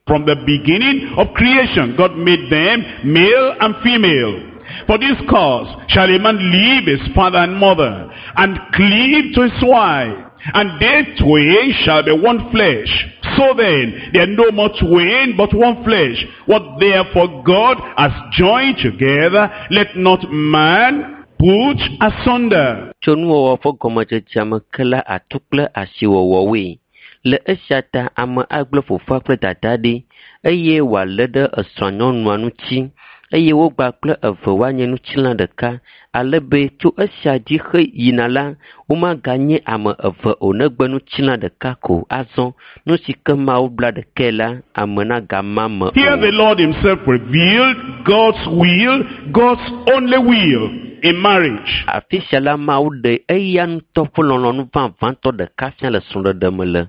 from the beginning of creation, God made them male and female. For this cause shall a man leave his father and mother, and cleave to his wife, and they twain shall be one flesh. So then, they are no more twain, but one flesh. What therefore God has joined together, let not man put asunder. Tso nuwɔwɔ ƒe gɔmedzedzea me ke la atu kple asiwɔwɔwoe. Le esia ta ame agblẽ fofoa kple dadaa ɖi eye wòalé ɖe esrɔ̃nyɔnua ŋuti eye wogba kple eve woanye ŋutilã ɖeka ale be tso esia dzi he yina la womaganye ame eve o negbe ŋutilã ɖeka ko azɔ nu si ke Mawu bla ɖekae la ame nagama me Here o. the Lord himself revealed God's will, God's only will in marriage. Afi sia la Mawu ɖe eya ŋutɔ ƒe lɔlɔ̃nu vavãtɔ ɖeka fia le srɔ̃ɖeɖe me le.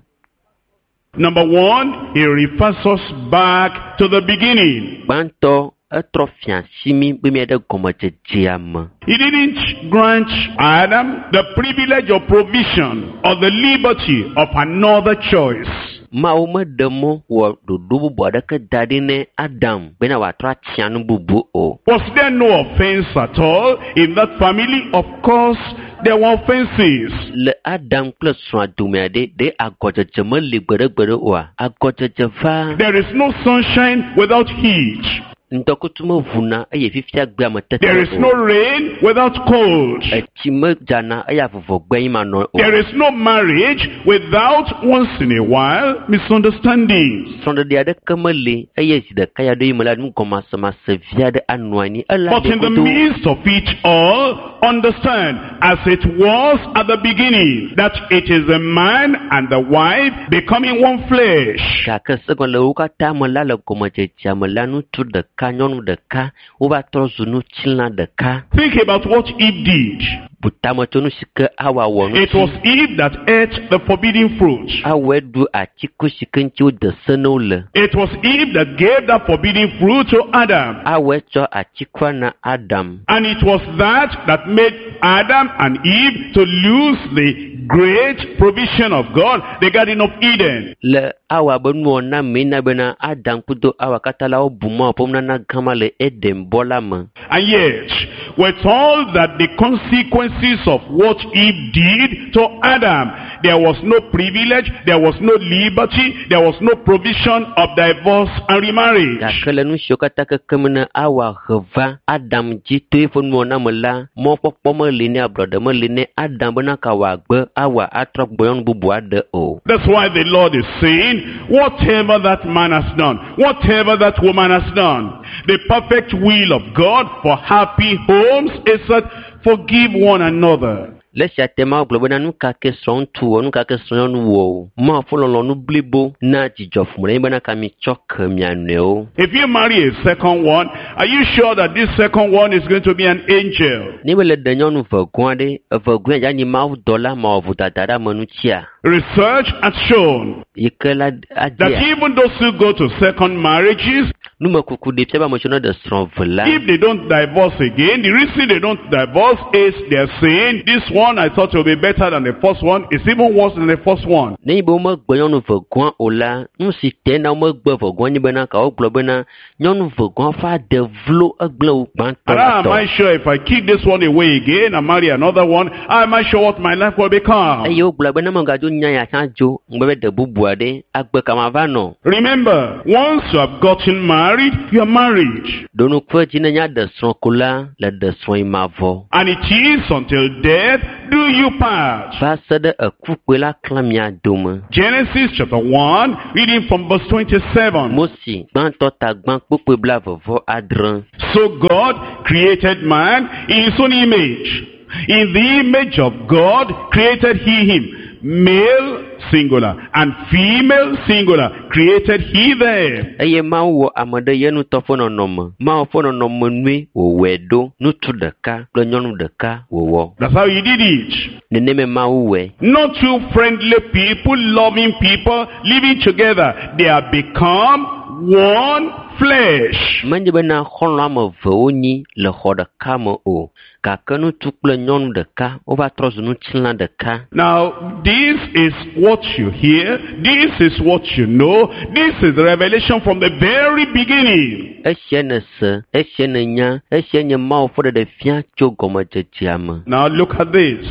Number 1, he refers us back to the beginning. Gbãtɔ etrɔ fia asi mí be míaɖe gɔmedzedzea me. He didn't grant Adam the privilege of provision or the liberty of another choice. Mawu meɖe mɔ wɔ ɖoɖo bubu aɖeke da ɖi ne Adam bena wòatrɔ atia nu bubu o. Was there no offense at all in that family? Of course, there were offenses. Le Adam kple srɔ̃a domea ɖe, ɖe agɔdzedze meli gbeɖegbeɖe oa? Agɔdzedze va. There is no sunshine without heat. Ŋdɔkutsu meʋuna eye fifia gbea me tete There is no o. rain without cold. Etsi medzana eye avuvɔgbe yi manɔ o. There is no marriage without once in a while misunderstandings. Srɔ̃ɖeɖe aɖeke meli eye zi ɖeka ya ɖo yi me la nugɔmasemase vi aɖe anɔ anyi. Ele But in the aɖe midst of it all, understand, as it was at the beginning, that it is the man and the wife becoming one flesh. Gake segɔme le wo katã me la le gɔmedzedzea me la ŋutsu ɖeka nyɔnu ɖeka wova trɔ zu ŋutilã ɖeka. Think about what Eve did. Bu tame tso nu si ke Awa wɔ It was ŋuti. Eve that ate the forbidden fruit. Awae ɖu atiku si ke ŋuti wode se na wo le. It was Eve that gave that forbidden fruit to Adam. Awae tsɔ atikua na Adam. And it was that that made Adam and Eve to lose the great provision of God, the Garden of Eden. Le Awa be nuwɔna mee na bena Adam kudo Awa katã la wobu Mawu ƒe nunana gã ma le Eden bɔ la me. And yet, with all that the consequences of what Eve did to Adam, there was no privilege, there was no liberty, there was no provision of divorce and remarriage. Gake le nu siwo katã kekem ne Awa he va Adam dzi to eƒe nuwɔna me la, mɔkpɔkpɔ meli nɛ, ablɔɖe meli nɛ Adam bena ka wòagbe Awa atrɔ gbɔ nyɔnu bubu aɖe o. That's why the Lord is saying, whatever that man has done, whatever that woman has done, the perfect will of God for happy homes is that forgive one another. Le esia te Mawu gblɔ bena nu ka ke srɔ̃ŋutsu wɔ, nu ka ke srɔ̃nyɔnu wɔ o, Mawu ƒe lɔlɔ̃nu blibo na dzidzɔ ƒome ɖe bena ka mitsɔ ke mia nɔewo. If you marry a second one, are you sure that this second one is going to be an angel? Ne mele ɖe nyɔnu vegɔa ɖe, evegɔe dza nyi Mawu dɔla mawɔ vodada ɖe ame ŋutia? Research has shown Yi ke la that adea even those who go to second marriages, numekuku ɖe fia be ame siwo ne ɖe srɔ̃ ve la, if they don't divorce again, the reason they don't divorce is they're saying, this one I thought will be better than the first one is even worse than the first one. ne nyi be womegbe nyɔnu vegɔa o la, nu si te na womegbe vegɔa nye bena ka wogblɔ bena nyɔnu vegɔa ƒe ade vlo egblẽ wu gbãtɔ And la how am tɔ. I sure if I kick this one away again and marry another one, how am I sure what my life will become? Eye wogblɔ be ne megadzo nya ya tsã dzo, ŋugbe be ɖe bubu aɖe, agbe ka mava nɔ. Remember, once you have gotten married, you are married. Ɖo ŋku edzi ne nya ɖe srɔ̃ ko la, le ɖe srɔ̃ yi mavɔ. And it is until death do you part. Va se ɖe ekukpoe la klã mia dome. Genesis chapter 1, reading from verse 27. Mose gbãtɔ ta gbã kpukpui 26. So God created man in his own image. In the image of God created he him. Male singular and female singular created he them. Eye Mawu wɔ ame ɖe ye ŋutɔ ƒe nɔnɔme. Mawu ƒe nɔnɔme nue wòwɔe ɖo. Ŋutsu ɖeka kple nyɔnu ɖeka wòwɔ. That's how he did it. Nenemae Mawu wɔe. Not two friendly people, loving people, living together. They have become one flesh. Menye bena xɔlɔ̃ ame eve wonyi le xɔ ɖeka me o. Gake ŋutsu kple nyɔnu ɖeka wova trɔ zu ŋutilã ɖeka. Now, this is what you hear. This is what you know. This is the revelation from the very beginning. Esia nèse, esia nènya, esia nye Mawu ƒe ɖeɖefia tso gɔmedzedzea me. Now look at this.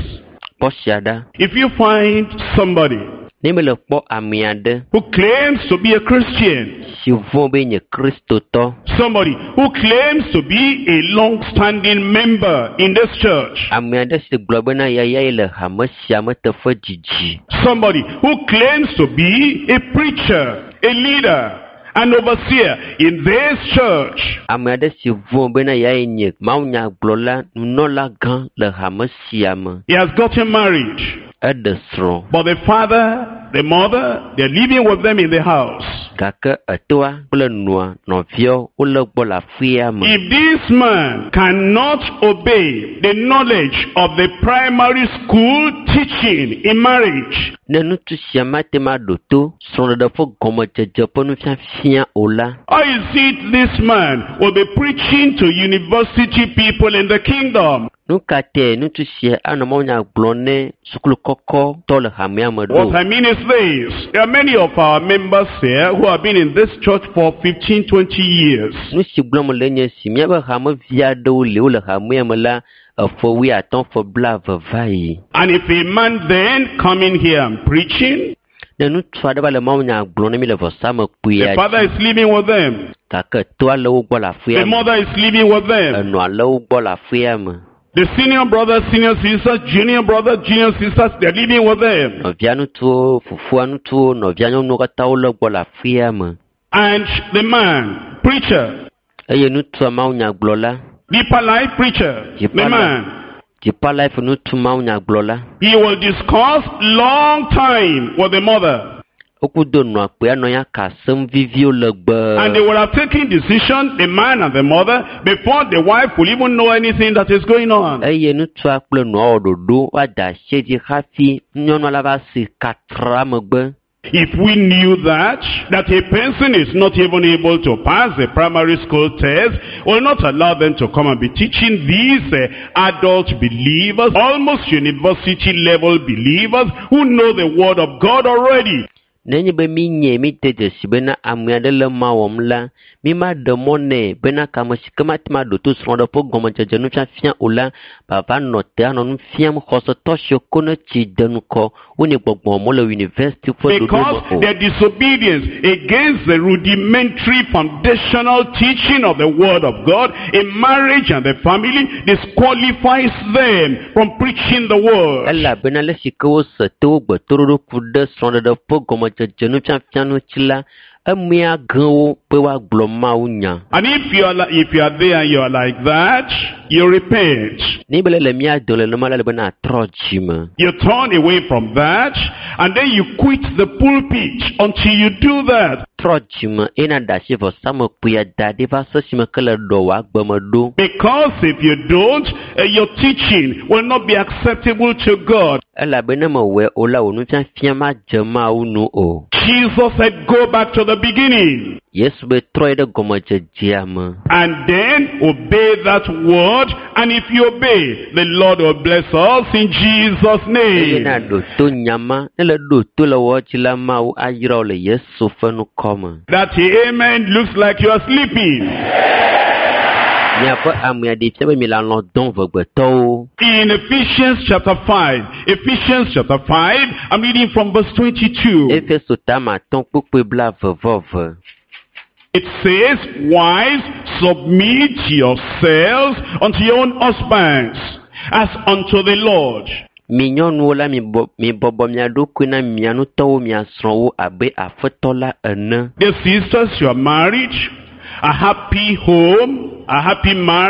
Kpɔ sia ɖa. If you find somebody Ne mele kpɔ ame aɖe who claims to be a Christian, si vɔ̃ be nye Kristotɔ, somebody who claims to be a long-standing member in this church, ame aɖe si gblɔ bena yayae le hame sia me teƒe dzidzi, somebody who claims to be a preacher, a leader, an overseer in this church, ame aɖe si vɔ̃ bena yae nye mawunyagblɔla, nunɔla gã le hame sia me, he has gotten married, eɖe srɔ̃. but the father, the mother, they're living with them in the house. Gake etoa kple nɔa nɔviawo wole gbɔ le aƒea me. If this man cannot obey the knowledge of the primary school teaching in marriage, Ne ŋutsu sia mate ŋu aɖo to srɔ̃ɖeɖe ƒe gɔmedzedze ƒe nufiafia o la, how is it this man will be preaching to university people in the kingdom? nu ka tae ŋutsu sia anɔ mawunya gblɔm ne sukulu kɔkɔtɔ le hamea me What ɖo? I mean is this. There are many of our members here who have been in this church for 15, 20 years. Nu si gblɔm le nye si míaƒe hamevi aɖewo li wole hamea me la eƒe 50 ƒe 70 va yi. And if a man then coming here and preaching, Ne ŋutsu aɖe va le mawunya gblɔm ne mi le vɔsamlekpuia the father dzi is living with them, gake toa le wo gbɔ le the aƒea me, mother is living with them, enɔa le wo gbɔ le aƒea me, the senior brothers, senior sisters, junior brothers, junior sisters, they're living with them. nɔvia ŋutsuwo, fofoa ŋutsuwo, nɔvia nyɔnuwo katã wole gbɔ le aƒea me. And the man, preacher, Eye ŋutsua mawunyagblɔla, deeper life preacher, the Deeper man, Deeper Life ŋutsu mawunyagblɔla, he will discuss long time with the mother. wokudo nɔa kpea nɔ ya ka asem viviwo legbe. And they will have taken decision, the man and the mother, before the wife will even know anything that is going on. Eye ŋutsua kple nɔa wɔ ɖoɖo woada asi edzi hafi nyɔnua la va si katra megbe. If we knew that a person is not even able to pass the primary school test, will not allow them to come and be teaching these adult believers, almost university level believers who know the word of God already. Nenye be mi nye mi de dzesi bena ame aɖe le ma wɔm la, mi ma ɖe mɔ nɛ bena kame si ke mate ŋu aɖo to srɔ̃ɖe ƒe gɔmedzedze nufiafia o la, bava nɔ te anɔ nu fiam xɔsetɔ siwo ko ne tsi de ŋkɔ wonye gbɔgbɔm wole yunivɛsiti ƒe ɖoɖo Because me o. their disobedience against the rudimentary foundational teaching of the word of God in marriage and the family disqualifies them from preaching the word. Elabena le si ke wose to wo gbetoɖoɖo ku ɖe srɔ̃ɖeɖe ƒe gɔmedzedze nufiafia ŋuti la, emea ge wo be woagblɔ Mawu nya. And if you are there and you are like that, you repent. Ne be le mía dome le nenema la, ele be natrɔ dzime. You turn away from that, and then you quit the pulpit until you do that. Trɔ dzime eye naɖe asi vɔsamlekpuia da ɖi va se esime ke le ɖɔ wò agbeme ɖo. Because if you don't, your teaching will not be acceptable to God. Elabe ne mewɔe o la, wò nufiafia madze Mawu nu o. Jesus said, go back to the beginning. Yesu be trɔ yi ɖe gɔmedzedzea me. And then obey that word. And if you obey, the Lord will bless us in Jesus' Eye name. naɖo to nyama, ne le ɖo to le wɔ dzi la, Mawu ayra wò le Yesu ƒe ŋkɔ me. That amen looks like you are sleeping. Miaƒe amea ɖe fia be mi le alɔ̃ dɔm vegbetɔwo. In Ephesians chapter 5, Ephesians chapter 5, I'm reading from verse 22. Efeso tama atɔ̃ kpukpui blaeve-vɔ-eve. It says, wives, submit yourselves unto your own husbands, as unto the Lord. Mi nyɔnuwo la, mi bɔbɔ mia ɖokui na mia ŋutɔwo mia srɔ̃wo abe Aƒetɔ la ene. Dear sisters, you are married, a happy home, a happy marriage.